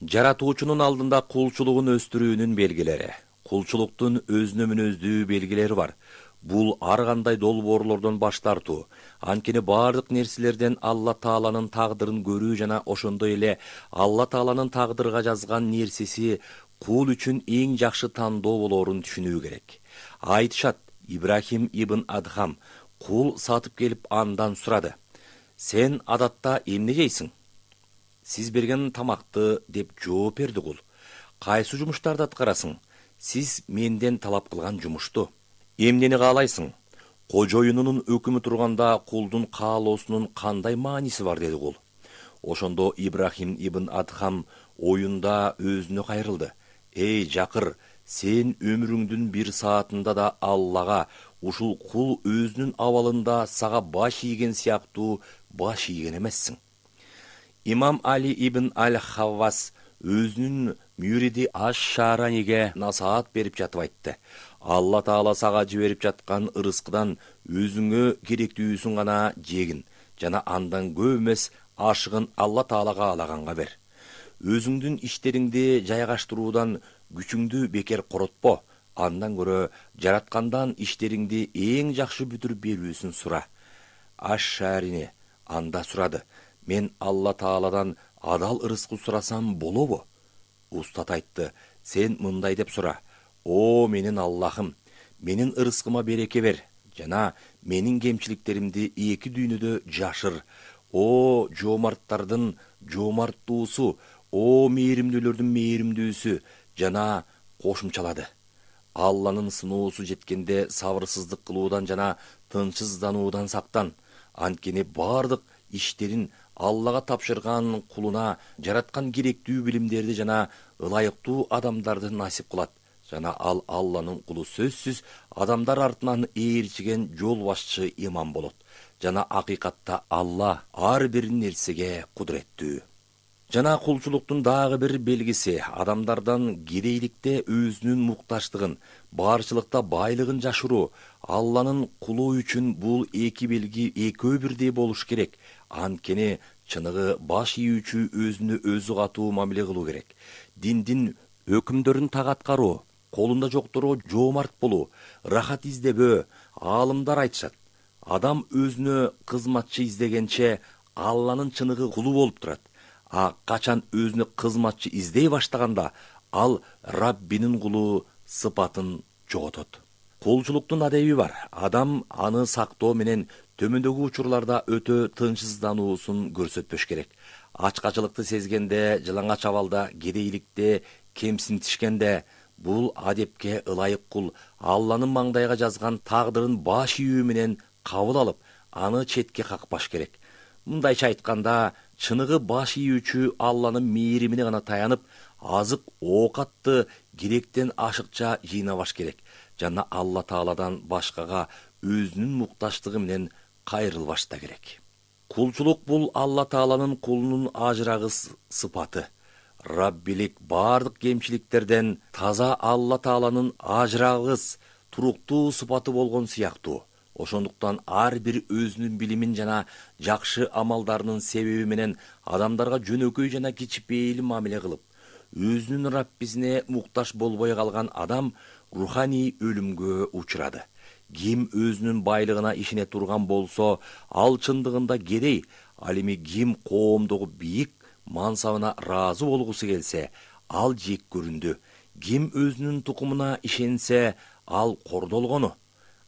Жаратуучунун алдында кулчулугун өстүрүүнүн белгилери. Кулчулуктун өзүнө мүнөздүү белгилери бар. Бул ар кандай долбоорлордон баш тартуу, анткени бардык нерселерден Алла Тааланын тагдырын көрүү жана ошондой эле Алла Тааланын тагдырга жазган нерсеси кул үчүн эң жакшы тандоо болоорун түшүнүү керек. Айтышат, Ибрахим ибн Адхам кул сатып келип андан сурады: "Сен адатта эмне жейсиң?" "Сиз берген тамакты" деп жооп берди кул. "Кайсы жумуштарды аткарасың?" "Сиз менден талап кылган жумушту." "Эмнени каалайсың?" "Кожоюнунун өкүмү турганда кулдун каалоосунун кандай мааниси бар?" деди кул. Ошондо Ибрахим ибн Адхам оюнда өзүнө кайрылды. "Эй жакыр, сен өмүрүңдүн бир саатында да Аллага ушул кул өзүнүн абалында сага баш ийген сыяктуу баш ийген эмессиң." Имам Али ибн Аль-Хаввас өзүнүн мүриди Аш-Шараниге насаат берип жатып айтты: "Алла Таала сага жиберип жаткан ырыскыдан өзүңө керектүүсүн гана жегин жана андан көп эмес ашыгын Алла Таала каалаганга бер. Өзүңдүн иштериңди жайгаштыруудан күчүңдү бекер коротпо, андан көрө жараткандан иштериңди эң жакшы бүтүрүп берүүсүн сура." Аш-Шарини анда сурады: "Мен Алла Тааладан адал ырыскы сурасам болобу?" Устат айтты: "Сен мындай деп сура: О менин Аллахым, менин ырыскыма береке бер жана менин кемчиликтеримди эки дүйнөдө жашыр. О жоомарттардын жоомарттуусу, о мээримдүүлөрдүн мээримдүүсү" жана кошумчалады: "Алланын сыноосу жеткенде сабырсыздык кылуудан жана тынчсыздануудан сактан. Анткени бардык иштерин Аллага тапшырган кулуна жараткан керектүү билимдерди жана ылайыктуу адамдарды насип кылат. Жана ал Алланын кулу сөзсүз адамдар артынан ээрчиген жол башчы имам болот. Жана акыйкатта Алла ар бир нерсеге кудуреттүү." Жана кулчулуктун дагы бир белгиси адамдардан кедейликте өзүнүн мукташтыгын, барчылыкта байлыгын жашыруу. Алланын кулу үчүн бул эки белги экөө бирдей болуш керек. Анткени чыныгы баш ийүүчү өзүнө өзү катуу мамиле кылуу керек. Диндин өкүмдөрүн так аткаруу, колунда жокторго жоомарт болуу, рахат издебөө. Аалымдар айтышат: адам өзүнө кызматчы издегенче Алланын чыныгы кулу болуп турат. А качан өзүнө кызматчы издей баштаганда ал Раббинин кулу сыпатын жоготот. Кулчулуктун адеби бар. Адам аны сактоо менен төмөндөгү учурларда өтө тынчсыздануусун көрсөтпөш керек. Ачкачылыкты сезгенде, жылаңач абалда, кедейликте, кемсинтишкенде бул адепке ылайык кул Алланын маңдайга жазган тагдырын баш ийүү менен кабыл алып, аны четке какпаш керек. Мындайча айтканда, чыныгы баш ийүүчү Алланын мээримине гана таянып, азык оокатты керектен ашыкча жыйнабаш керек жана Алла Тааладан башкага өзүнүн мукташтыгы менен кайрылбаш да керек. Кулчулук бул Алла Тааланын кулунун ажырагы сыпаты. Раббилик бардык кемчиликтерден таза Алла Тааланын ажырагыс, туруктуу сыпаты болгон сыяктуу. Ошондуктан ар бир өзүнүн билимин жана жакшы амалдарынын себеби менен адамдарга жөнөкөй жана кичипейил мамиле кылып, өзүнүн Раббисине мукташ болбой калган адам руханий өлүмгө учурады. Ким өзүнүн байлыгына ишене турган болсо, ал чындыгында кедей. Ал эми ким коомдогу бийик мансабына ыраазы болгусу келсе, ал жек көрүндү. Ким өзүнүн тукумуна ишенсе, ал кордолгону.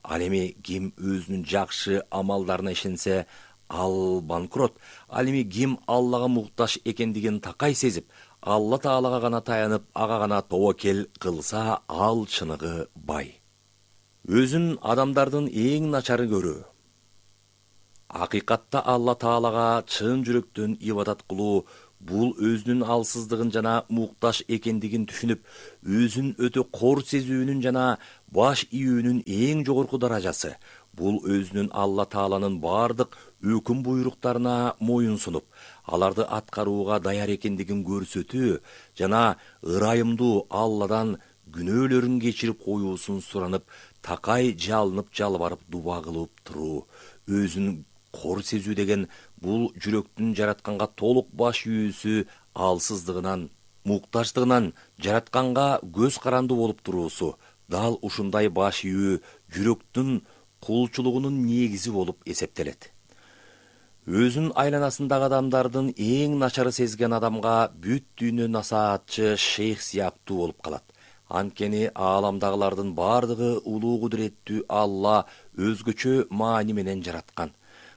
Ал эми ким өзүнүн жакшы амалдарына ишенсе, ал банкрот. Ал эми ким Аллага муктаж экендигин такай сезип, Алла Таалага гана таянып, ага гана тобокел кылса, ал чыныгы бай. Өзүн адамдардын эң начары көрүү. Акыйкатта Алла Таалага чын жүрөктөн ибадат кылуу бул өзүнүн алсыздыгын жана муктаж экендигин түшүнүп, өзүн өтө кор сезүүнүн жана баш ийүүнүн эң жогорку даражасы. Бул өзүнүн Алла Тааланын бардык өкүм буйруктарына моюн сунуп, аларды аткарууга даяр экендигин көрсөтүү жана ырайымдуу Алладан күнөөлөрүн кечирип коюусун суранып, такай жалынып жалбарып дуба кылып туруу. Өзүн кор сезүү деген бул жүрөктүн жаратканга толук баш ийүүсү, алсыздыгынан, муктаждыгынан жаратканга көз каранды болуп туруусу. Дал ушундай баш ийүү жүрөктүн кулчулугунун негизи болуп эсептелет. Өзүн айланасындагы адамдардын эң начары сезген адамга бүт дүйнө насаатчы шейх сыяктуу болуп калат. Анткени ааламдагылардын бардыгы улуу кудуреттүү Алла өзгөчө маани менен жараткан.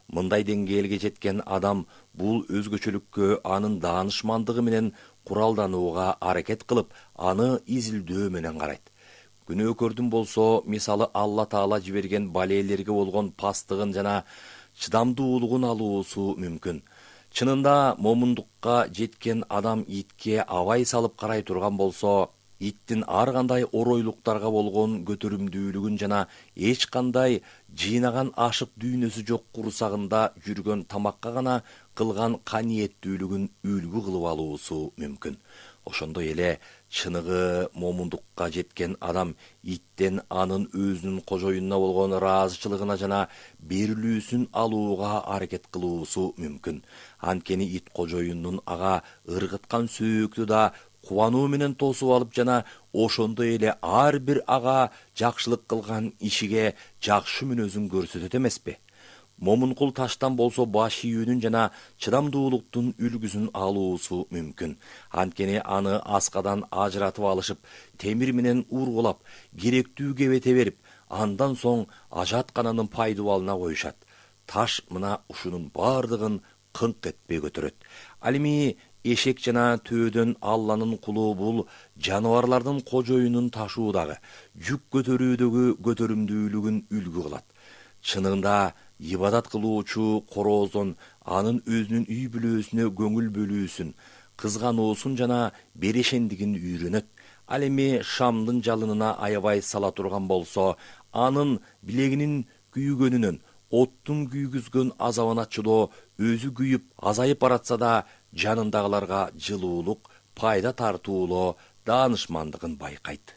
Мындай деңгээлге жеткен адам бул өзгөчөлүккө анын даанышмандыгы менен куралданууга аракет кылып, аны изилдөө менен карайт. Күнөөкөрдүн болсо, мисалы Алла Таала жиберген балээлерге болгон пастыгын жана чыдамдуулугун алуусу мүмкүн. Чынында момундукка жеткен адам итке абай салып карай турган болсо, иттин ар кандай оройлуктарга болгон көтөрүмдүүлүгүн жана эч кандай жыйнаган ашык дүйнөсү жок курсагында жүргөн тамакка гана кылган каниеттүүлүгүн үлгү кылып алуусу мүмкүн. Ошондой эле чыныгы момундукка жеткен адам иттен анын өзүнүн кожоюнуна болгон ыраазычылыгына жана берилүүсүн алууга аракет кылуусу мүмкүн. Анткени ит кожоюнунун ага ыргыткан сөөктү да кубануу менен тосуп алып жана ошондой эле ар бир ага жакшылык кылган ишиге жакшы мүнөзүн көрсөтөт эмеспи? Момункул таштан болсо баш ийүүнүн жана чыдамдуулуктун үлгүсүн алуусу мүмкүн. Анткени аны аскадан ажыратып алышып, темир менен ургулап, керектүү кебете берип, андан соң ажаткананын пайдубалына коюшат. Таш мына ушунун бардыгын кыңк этпей көтөрөт. Ал эми эшек жана төөдөн Алланын кулу бул жаныбарлардын кожоюнун ташуудагы, жүк көтөрүүдөгү көтөрүмдүүлүгүн үлгү кылат. Чынында ибадат кылуучу корооздон анын өзүнүн үй бүлөсүнө көңүл бөлүүсүн, кызгануусун жана берешендигин үйрөнөт. Ал эми шамдын жалынына аябай сала турган болсо, анын билегинин күйгөнүнөн, оттун күйгүзгөн азабына чыдоо өзү күйүп азайып баратса да, жанындагыларга жылуулук, пайда тартуулоо, даанышмандыгын байкайт.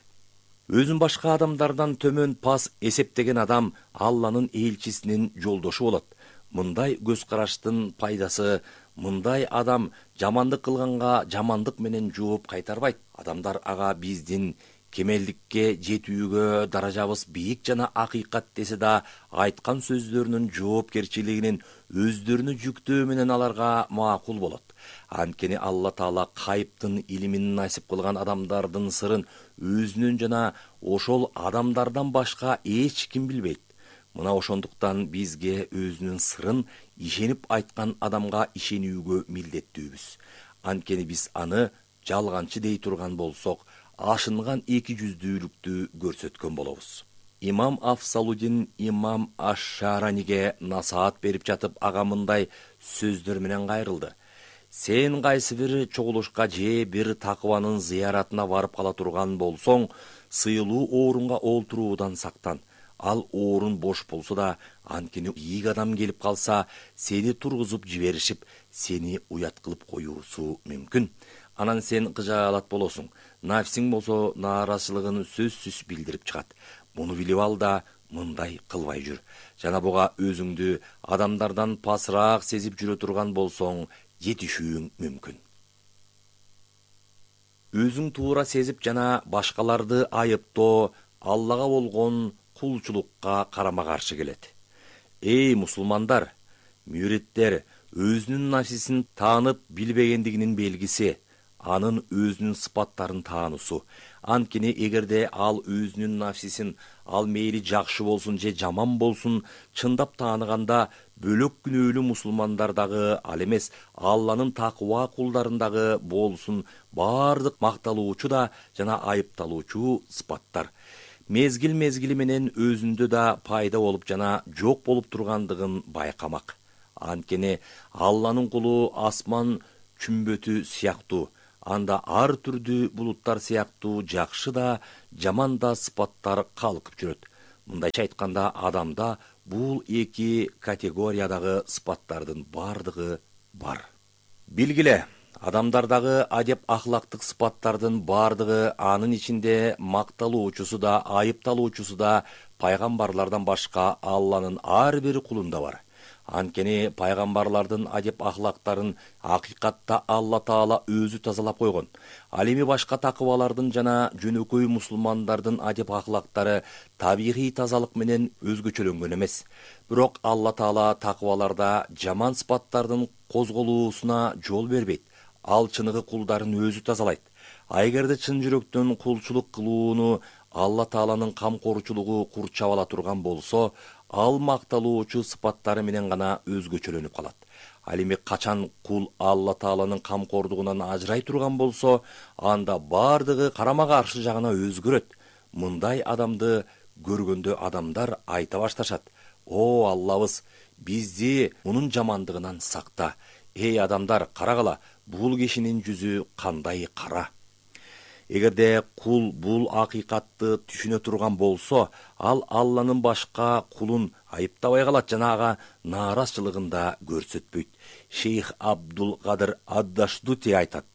Өзүн башка адамдардан төмөн пас эсептеген адам Алланын элчисинин жолдошу болот. Мындай көз караштын пайдасы, мындай адам жамандык кылганга жамандык менен жооп кайтарбайт. Адамдар ага биздин кемелдикке жетүүгө даражабыз бийик жана акыйкат десе да, айткан сөздөрүнүн жоопкерчилигинин өздөрүнө жүктөө менен аларга макул болот. Анткени Алла Таала кайыптын илимин насип кылган адамдардын сырын өзүнүн жана ошол адамдардан башка эч ким билбейт. Мына ошондуктан бизге өзүнүн сырын ишенип айткан адамга ишенүүгө милдеттүүбүз. Анткени биз аны жалганчы дей турган болсок, ашынган эки жүздүүлүктү көрсөткөн болобуз. Имам Афсалудин имам Аш-Шараниге насаат берип жатып, ага мындай сөздөр менен кайрылды. Сен кайсы бир чогулушка же бир такыбанын зыяратына барып кала турган болсоң, сыйлуу орунга олтуруудан сактан. Ал орун бош болсо да, анткени ийик адам келип калса, сени тургузуп жиберишип, сени уят кылып коюусу мүмкүн. Анан сен кыжаалат болосуң. Нафсиң болсо нааразычылыгын сөзсүз билдирип чыгат. Муну билип ал да мындай кылбай жүр. Жана буга өзүңдү адамдардан пасыраак сезип жүрө турган болсоң, жетишүүң мүмкүн. Өзүң туура сезип жана башкаларды айыптоо Аллага болгон кулчулукка карама каршы келет. Эй мусулмандар, мүриттер, өзүнүн нафсисин таанып билбегендигинин белгиси, анын өзүнүн сыпаттарын таануусу, Анткени эгерде ал өзүнүн нафсисин, ал мейли жакшы болсун же жаман болсун, чындап тааныганда бөлөк күнөөлүү мусулмандардагы, ал эмес Алланын такыба кулдарындагы болсун баардык макталуучу да жана айыпталуучу сыпаттар мезгил менен өзүндө да пайда болуп жана жок болуп тургандыгын байкамак. Анткени Алланын кулу асман чүмбөтү сыяктуу, анда ар түрдүү булуттар сыяктуу жакшы да, жаман да сыпаттар калкып жүрөт. Мындайча айтканда, адамда бул эки категориядагы сыпаттардын бардыгы бар. Билгиле, адамдардагы адеп ахлактык сыпаттардын бардыгы, анын ичинде макталуучусу да, айыпталуучусу да пайгамбарлардан башка Алланын ар бир кулунда бар. Анткени пайгамбарлардын адеп ахлактарын акыйкатта Алла Таала өзү тазалап койгон. Ал эми башка такыбалардын жана жөнөкөй мусулмандардын адеп ахлактары табигый тазалык менен өзгөчөлөнгөн эмес. Бирок Алла Таала такыбаларда жаман сыпаттардын козголуусуна жол бербейт. Ал чыныгы кулдарын өзү тазалайт. Эгерде чын жүрөктөн кулчулук кылууну Алла Тааланын камкорчулугу курчап ала турган болсо, ал макталуучу сыпаттары менен гана өзгөчөлөнүп калат. Ал эми качан кул Алла Тааланын камкордугунан ажырай турган болсо, анда бардыгы карама каршы жагына өзгөрөт. Мындай адамды көргөндө адамдар айта башташат: "О Аллабыз, бизди мунун жамандыгынан сакта. Эй адамдар, карагыла, бул кишинин жүзү кандай кара." Эгерде кул бул акыйкатты түшүнө турган болсо, ал Алланын башка кулун айыптабай калат жана ага нааразычылыгын да көрсөтпөйт. Шейх Абдул Кадыр Аддаштути айтат: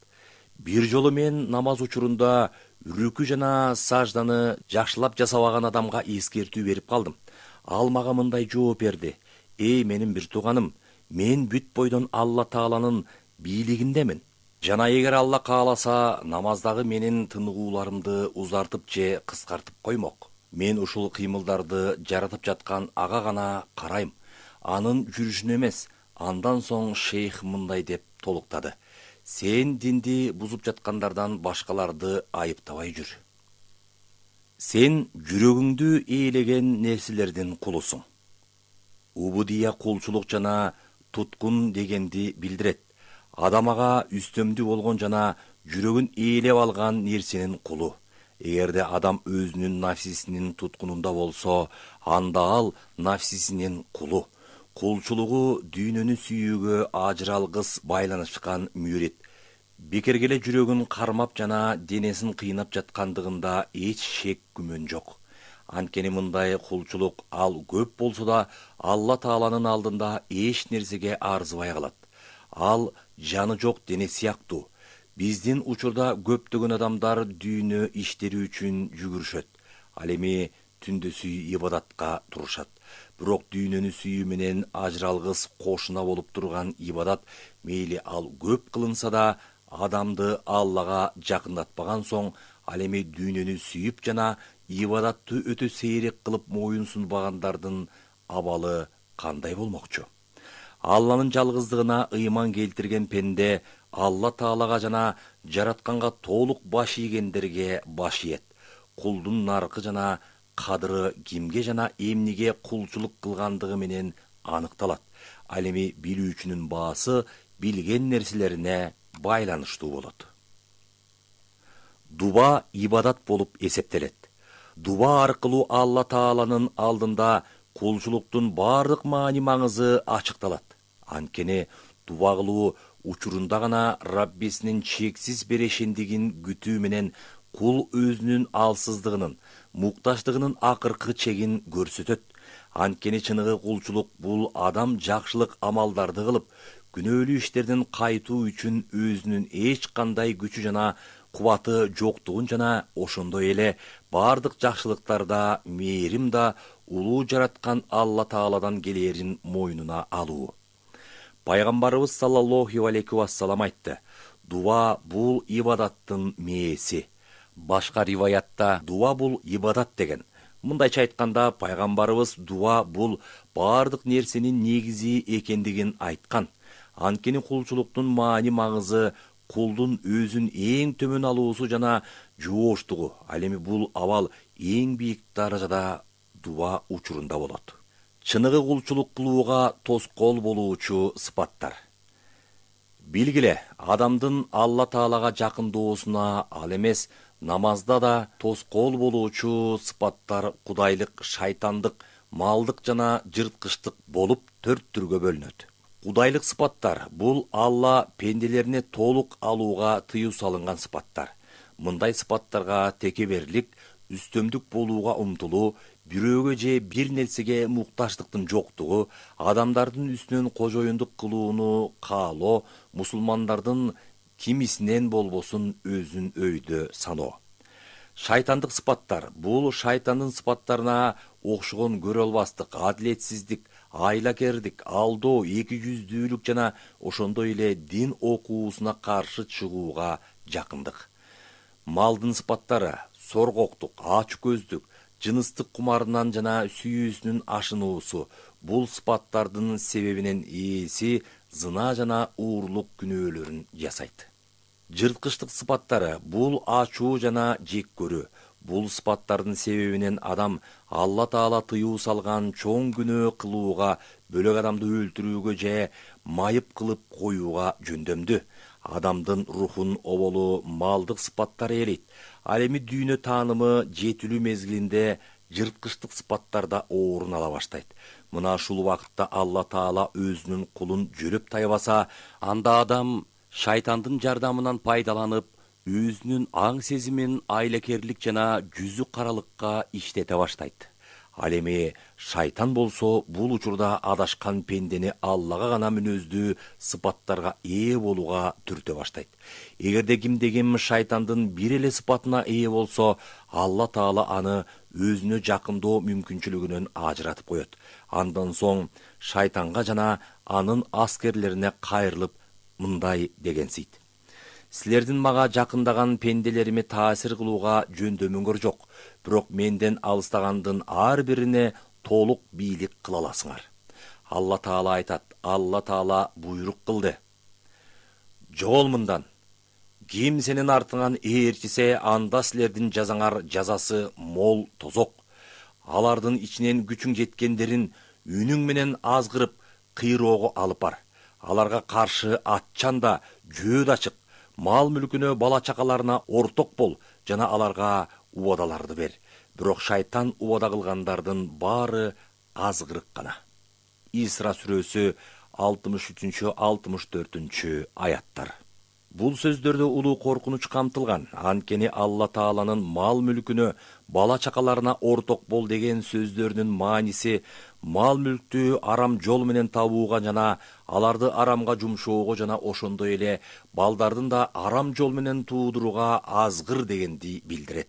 "Бир жолу мен намаз учурунда үрүкү жана сажданы жакшылап жасабаган адамга эскертүү берип калдым. Ал мага мындай жооп берди: "Эй менин бир тууганым, мен бүт бойдон Алла Тааланын бийлигиндемин. Жана эгер Алла кааласа, намаздагы менин тыныгууларымды узартып же кыскартып коймок. Мен ушул кыймылдарды жаратып жаткан ага гана карайм, анын жүрүшүнө эмес." Андан соң шейх мындай деп толуктады: "Сен динди бузуп жаткандардан башкаларды айыптабай жүр. Сен жүрөгүңдү ээлеген нерселердин кулусуң." Убудия кулчулук жана туткун дегенди билдирет. Адам ага үстөмдүү болгон жана жүрөгүн ээлеп алган нерсенин кулу. Эгерде адам өзүнүн нафсисинин туткунунда болсо, анда ал нафсисинин кулу. Кулчулугу дүйнөнү сүйүүгө ажыралгыс байланышкан мүрит. Бекерге эле жүрөгүн кармап жана денесин кыйнап жаткандыгында эч шек күмөн жок. Анткени мындай кулчулук ал көп болсо да Алла Тааланын алдында эч нерсеге арзыбай калат. Ал жаны жок дене сыяктуу. Биздин учурда көптөгөн адамдар дүйнө иштери үчүн жүгүрүшөт. Ал эми түндөсүй ибадатка турушат. Бирок дүйнөнү сүйүү менен ажыралгыс кошуна болуп турган ибадат, мейли ал көп кылынса да, адамды Аллага жакындатпаган соң, ал эми дүйнөнү сүйүп жана ибадатты өтө сейрек кылып моюн сунбагандардын абалы кандай болмокчу? Алланын жалгыздыгына ыйман келтирген пенде Алла Таалага жана жаратканга толук баш ийгендерге баш ийет. Кулдун наркы жана кадыры кимге жана эмнеге кулчулук кылгандыгы менен аныкталат. Ал эми билүүчүнүн баасы билген нерселерине байланыштуу болот. Дуба ибадат болуп эсептелет. Дуба аркылуу Алла Тааланын алдында кулчулуктун бардык маани маңызы ачыкталат. Анткени дуба кылуу учурунда гана Раббисинин чексиз берешендигин күтүү менен кул өзүнүн алсыздыгынын, муктаждыгынын акыркы чегин көрсөтөт. Анткени чыныгы кулчулук бул адам жакшылык амалдарды кылып, күнөөлүү иштерден кайтуу үчүн өзүнүн эч кандай күчү жана кубаты жоктугун жана ошондой эле бардык жакшылыктарда мээрим да улуу жараткан Алла Тааладан келерин мойнуна алуу. Пайгамбарыбыз саллаллаху алейхи вассалам айтты: "Дуа бул ибадаттын мээси." Башка риваятта дуа бул ибадат деген. Мындайча айтканда, пайгамбарыбыз дуа бул бардык нерсенин негизи экендигин айткан. Анткени кулчулуктун маани маңызы кулдун өзүн эң төмөн алуусу жана жооштугу. Ал эми бул абал эң бийик даражада дуба учурунда болот. Чыныгы кулчулук кылууга тоскоол болуучу сыпаттар. Билгиле, адамдын Алла Таалага жакындоосуна ал эмес, намазда да тоскоол болуучу сыпаттар кудайлык, шайтандык, малдык жана жырткычтык болуп 4 түргө бөлүнөт. Кудайлык сыпаттар бул Алла пенделерине толук алууга тыюу салынган сыпаттар. Мындай сыпаттарга текеберлик, үстөмдүк болууга умтулуу, бирөөгө же бир нерсеге муктаждыктын жоктугу, адамдардын үстүнөн кожоюндук кылууну каалоо, мусулмандардын кимисинен болбосун өзүн өйдө саноо. Шайтандык сыпаттар бул шайтандын сыпаттарына окшогон көрө албастык, адилетсиздик, айлакердик, алдоо, эки жүздүүлүк жана ошондой эле дин окуусуна каршы чыгууга жакындык. Малдын сыпаттары соргоктук, ачык көздүк, жыныстык кумарынан жана сүйүүсүнүн ашынуусу. Бул сыпаттардын себебинен ээси зына жана уурлук күнөөлөрүн жасайт. Жырткычтык сыпаттары бул ачуу жана жек көрүү. Бул сыпаттардын себебинен адам Алла Таала тыюу салган чоң күнөө кылууга, бөлөк адамды өлтүрүүгө же майып кылып коюуга жөндөмдү. Адамдын рухун оболу малдык сыпаттар ээлейт. Ал эми дүйнө таанымы жетилүү мезгилинде жырткычтык сыпаттарда орун ала баштайт. Мына ушул убакытта Алла Таала өзүнүн кулун жөлөп тайбаса, анда адам шайтандын жардамынан пайдаланып, өзүнүн аң сезимин айлакерлик жана жүзү каралыкка иштете баштайт. Ал эми шайтан болсо бул учурда адашкан пендени Аллага гана мүнөздүү сыпаттарга ээ болууга түртө баштайт. Эгерде кимде-ким шайтандын бир эле сыпатына ээ болсо, Алла Таала аны өзүнө жакындоо мүмкүнчүлүгүнөн ажыратып коет. Андан соң шайтанга жана анын аскерлерине кайрылып мындай дегенсийт: силердин мага жакындаган пенделериме таасир кылууга жөндөмүңөр жок, бирок менден алыстагандын ар бирине толук бийлик кыла аласыңар. Алла Таала айтат, Алла Таала буйрук кылды: жогол мындан, ким сенин артыңан ээрчисе, анда силердин жазаңар жазасы мол тозок. Алардын ичинен күчүң жеткендерин үнүң менен азгырып, кыйроого алып бар. Аларга каршы атчан да, жөө да чык. Мал мүлкүнө, бала чакаларына орток бол жана аларга убадаларды бер. Бирок шайтан убада кылгандардын баары азгырык гана. Исра сүрөсү 63-64 аяттар. Бул сөздөрдө улуу коркунуч камтылган. Анткени Алла Тааланын мал мүлкүнө, бала чакаларына орток бол деген сөздөрүнүн мааниси мал мүлктү арам жол менен табууга жана аларды арамга жумшоого жана ошондой эле балдардын да арам жол менен туудурууга азгыр дегенди билдирет.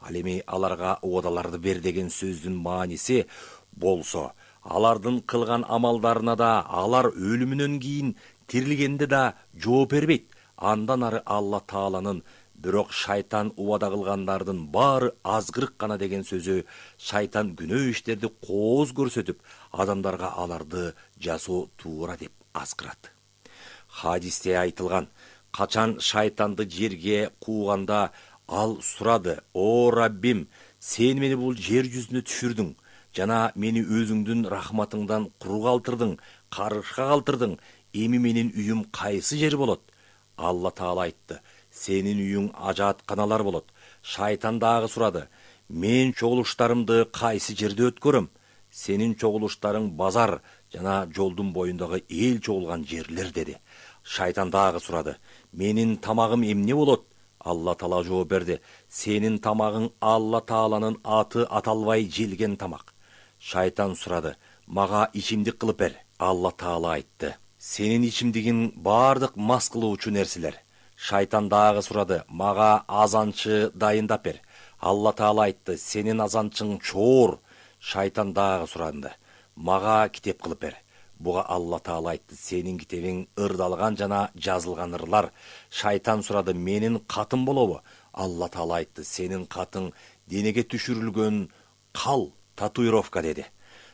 Ал эми аларга убадаларды бер деген сөздүн мааниси болсо, алардын кылган амалдарына да, алар өлүмүнөн кийин тирилгенде да жооп бербейт. Андан ары Алла Тааланын бирок шайтан убада кылгандардын баары азгырык гана деген сөзү шайтан күнөө иштерди кооз көрсөтүп, адамдарга аларды жасоо туура деп азгырат. Хадисте айтылган, качан шайтанды жерге кууганда ал сурады: "О Раббим, сен мени бул жер жүзүнө түшүрдүң жана мени өзүңдүн рахматыңдан куру калтырдың, карышка калтырдың. Эми менин үйүм кайсы жер болот?" Алла Таала айтты: "Сенин үйүң ажаатканалар болот." Шайтан дагы сурады: "Мен чогулуштарымды кайсы жерде өткөрөм?" "Сенин чогулуштарың базар жана жолдун боюндагы эл чогулган жерлер" деди. Шайтан дагы сурады: "Менин тамагым эмне болот?" Алла Таала жооп берди: "Сенин тамагың Алла Тааланын аты аталбай желген тамак." Шайтан сурады: "Мага ичимдик кылып бер." Алла Таала айтты: "Сенин ичимдигиң бардык мас кылуучу нерселер." Шайтан дагы сурады: "Мага азанчы дайындап бер." Алла Таала айтты: "Сенин азанчың чоор." Шайтан дагы суранды: "Мага китеп кылып бер." Буга Алла Таала айтты: "Сенин китебиң ырдалган жана жазылган ырлар." Шайтан сурады: "Менин катым болобу?" Алла Таала айтты: "Сенин катың денеге түшүрүлгөн кал, татуировка" деди.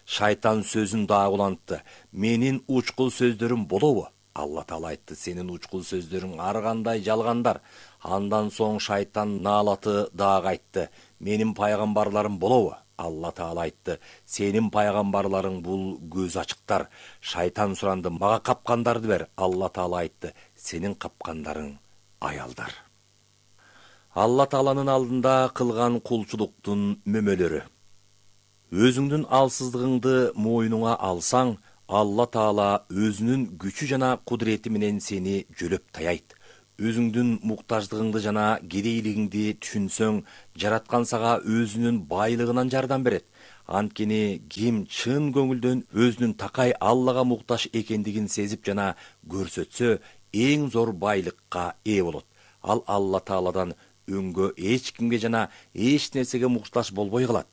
Шайтан сөзүн дагы улантты: "Менин учкул сөздөрүм болобу?" Алла Таала айтты: сенин учкул сөздөрүң ар кандай жалгандар. Андан соң шайтан наалаты дагы айтты: менин пайгамбарларым болобу? Алла Таала айтты: сенин пайгамбарларың бул көз ачыктар. Шайтан суранды: мага капкандарды бер. Алла Таала айтты: сенин капкандарың аялдар. Алла Тааланын алдында кылган кулчулуктун мөмөлөрү. Өзүңдүн алсыздыгыңды мойнуңа алсаң, Алла Таала өзүнүн күчү жана кудурети менен сени жөлөп таяйт. Өзүңдүн муктаждыгыңды жана кедейлигиңди түшүнсөң, жараткан сага өзүнүн байлыгынан жардам берет. Анткени ким чын көңүлдөн өзүнүн такай Аллага муктаж экендигин сезип жана көрсөтсө, эң зор байлыкка ээ болот. Ал Алла Тааладан өңгө эч кимге жана эч нерсеге муктаж болбой калат.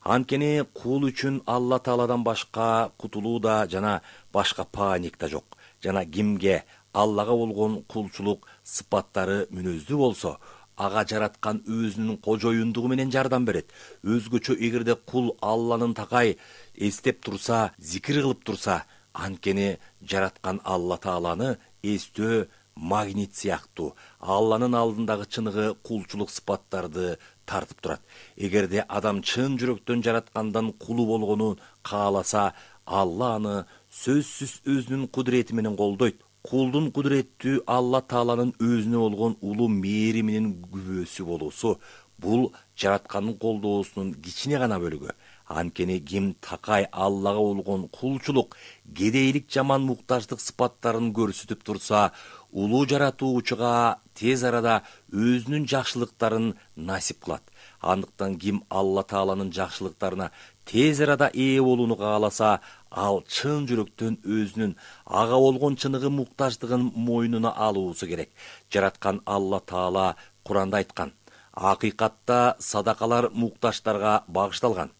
Анткени кул үчүн Алла Тааладан башка кутулуу да жана башка пааник да жок. Жана кимге Аллага болгон кулчулук сыпаттары мүнөздүү болсо, ага жараткан өзүнүн кожоюндугу менен жардам берет. Өзгөчө эгерде кул Алланын такай эстеп турса, зикир кылып турса, анткени жараткан Алла Тааланы эстөө магнит сыяктуу Алланын алдындагы чыныгы кулчулук сыпаттарды тартып турат. Эгерде адам чын жүрөктөн жараткандан кулу болгонун кааласа, Алла аны сөзсүз өзүнүн кудурети менен колдойт. Кулдун кудуреттүү Алла Тааланын өзүнө болгон улуу мээриминин күбөсү болуусу бул жараткандын колдоосунун кичине гана бөлүгү. Анткени ким такай Аллага болгон кулчулук, кедейлик жаман муктаждык сыпаттарын көрсөтүп турса, улуу жаратуучуга тез арада өзүнүн жакшылыктарын насип кылат. Андыктан ким Алла Тааланын жакшылыктарына тез арада ээ болууну кааласа, ал чын жүрөктөн өзүнүн ага болгон чыныгы муктаждыгын мойнуна алуусу керек. Жараткан Алла Таала Куранда айткан: акыйкатта садакалар муктаждарга багышталган.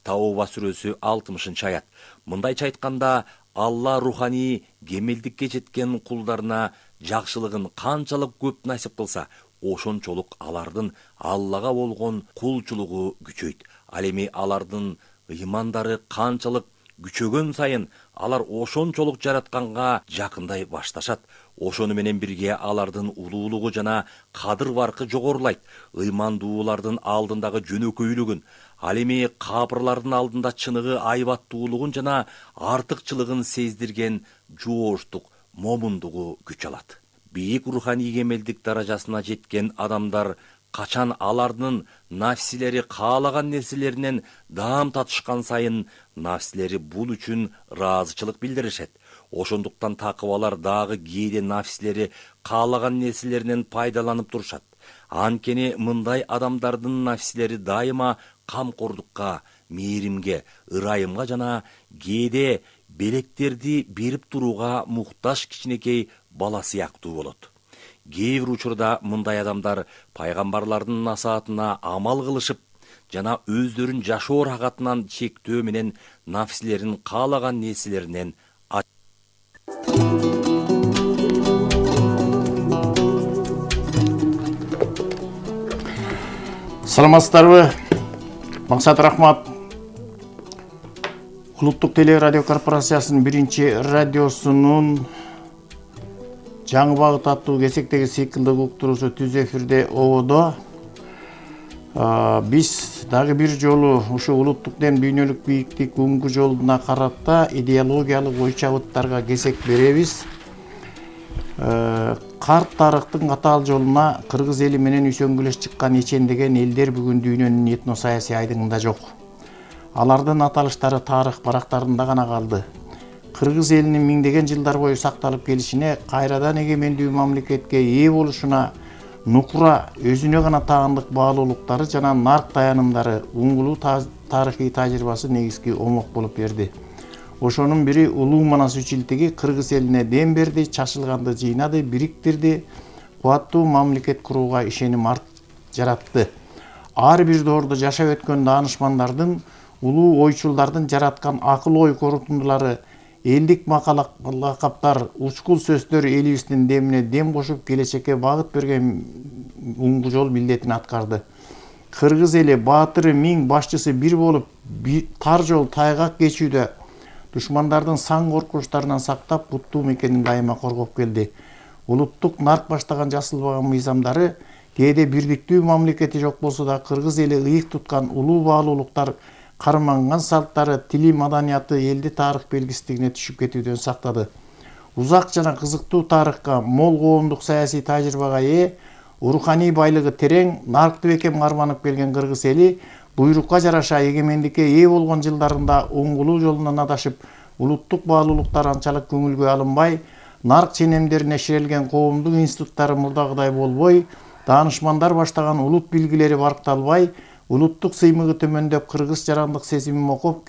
Тауба сүрөсү 60-аят. Мындайча айтканда, Алла руханий кемелдикке жеткен кулдарына жакшылыгын канчалык көп насип кылса, ошончолук алардын Аллага болгон кулчулугу күчөйт. Ал эми алардын ыймандары канчалык күчөгөн сайын, алар ошончолук жаратканга жакындай башташат. Ошону менен бирге алардын улуулугу жана кадыр баркы жогорулайт. Ыймандуулардын алдындагы жөнөкөйлүгүн, ал эми капырлардын алдында чыныгы айбаттуулугун жана артыкчылыгын сездирген жооштук, момундугу күч алат. Бийик руханий кемелдик даражасына жеткен адамдар качан алардын нафсилери каалаган нерселеринен даам татышкан сайын, нафсилери бул үчүн ыраазычылык билдиришет. Ошондуктан такыбалар дагы кээде нафсилери каалаган нерселеринен пайдаланып турушат. Анткени мындай адамдардын нафсилери дайыма камкордукка, мээримге, ырайымга жана кээде белектерди берип турууга муктаж кичинекей бала сыяктуу болот. Кээ бир учурда мындай адамдар пайгамбарлардын насаатына амал кылышып жана өздөрүн жашоо рахатынан чектөө менен нафсилерин каалаган нерселеринен Саламатсыздарбы? Максат Рахмат. Улуттук телерадио корпорациясынын биринчи радиосунун жаңы багыт аттуу кесектеги циклдык уктуруусу түз эфирде ободо. Биз дагы бир жолу ушу улуттук ден дүйнөлүк бийиктик бүгүнкү жолуна карата идеологиялык ой чабыттарга кесек беребиз. Карт тарыхтын катаал жолуна кыргыз эли менен үсөнгүлөш чыккан эчендеген элдер бүгүн дүйнөнүн этно саясий айдыңында жок. Алардын аталыштары тарых барактарында гана калды. Кыргыз элинин миңдеген жылдар бою сакталып келишине, кайрадан эгемендүү мамлекетке ээ болушуна нукура өзүнө гана таандык баалуулуктары жана нарк таянымдары, уңгулуу тарыхый тажрыйбасы негизги омок болуп берди. Ошонун бири улуу Манас үчилтиги кыргыз элине дем берди, чачылганды жыйнады, бириктирди, кубаттуу мамлекет курууга ишеним жаратты. Ар бир доордо жашап өткөн даанышмандардын, улуу ойчулдардын жараткан акыл ой корутундулары, элдик лакаптар, учкул сөздөр элибиздин демине дем кошуп келечекке багыт берген уңгу жол милдетин аткарды. Кыргыз эли баатыры миң, башчысы бир болуп, тар жол тайгак кечүүдө душмандардын сан коркунучтарынан сактап, буттуу мекенин дайыма коргоп келди. Улуттук нарк баштаган жасылбаган мыйзамдары кээде бирдиктүү мамлекети жок болсо да кыргыз эли ыйык туткан улуу баалуулуктар, карманган салттары, тили, маданияты элди тарых белгисиздигине түшүп кетүүдөн сактады. Узак жана кызыктуу тарыхка, мол коомдук саясий тажрыйбага ээ, руханий байлыгы терең, наркты бекем карманып келген кыргыз эли буйрукка жараша эгемендикке ээ болгон жылдарында оңгулуу жолунан адашып, улуттук баалуулуктар анчалык көңүлгө алынбай, нарк ченемдерине ширелген коомдук институттары мурдагыдай болбой, даанышмандар баштаган улут билгилери баркталбай, улуттук сыймыгы төмөндөп, кыргыз жарандык сезими мокоп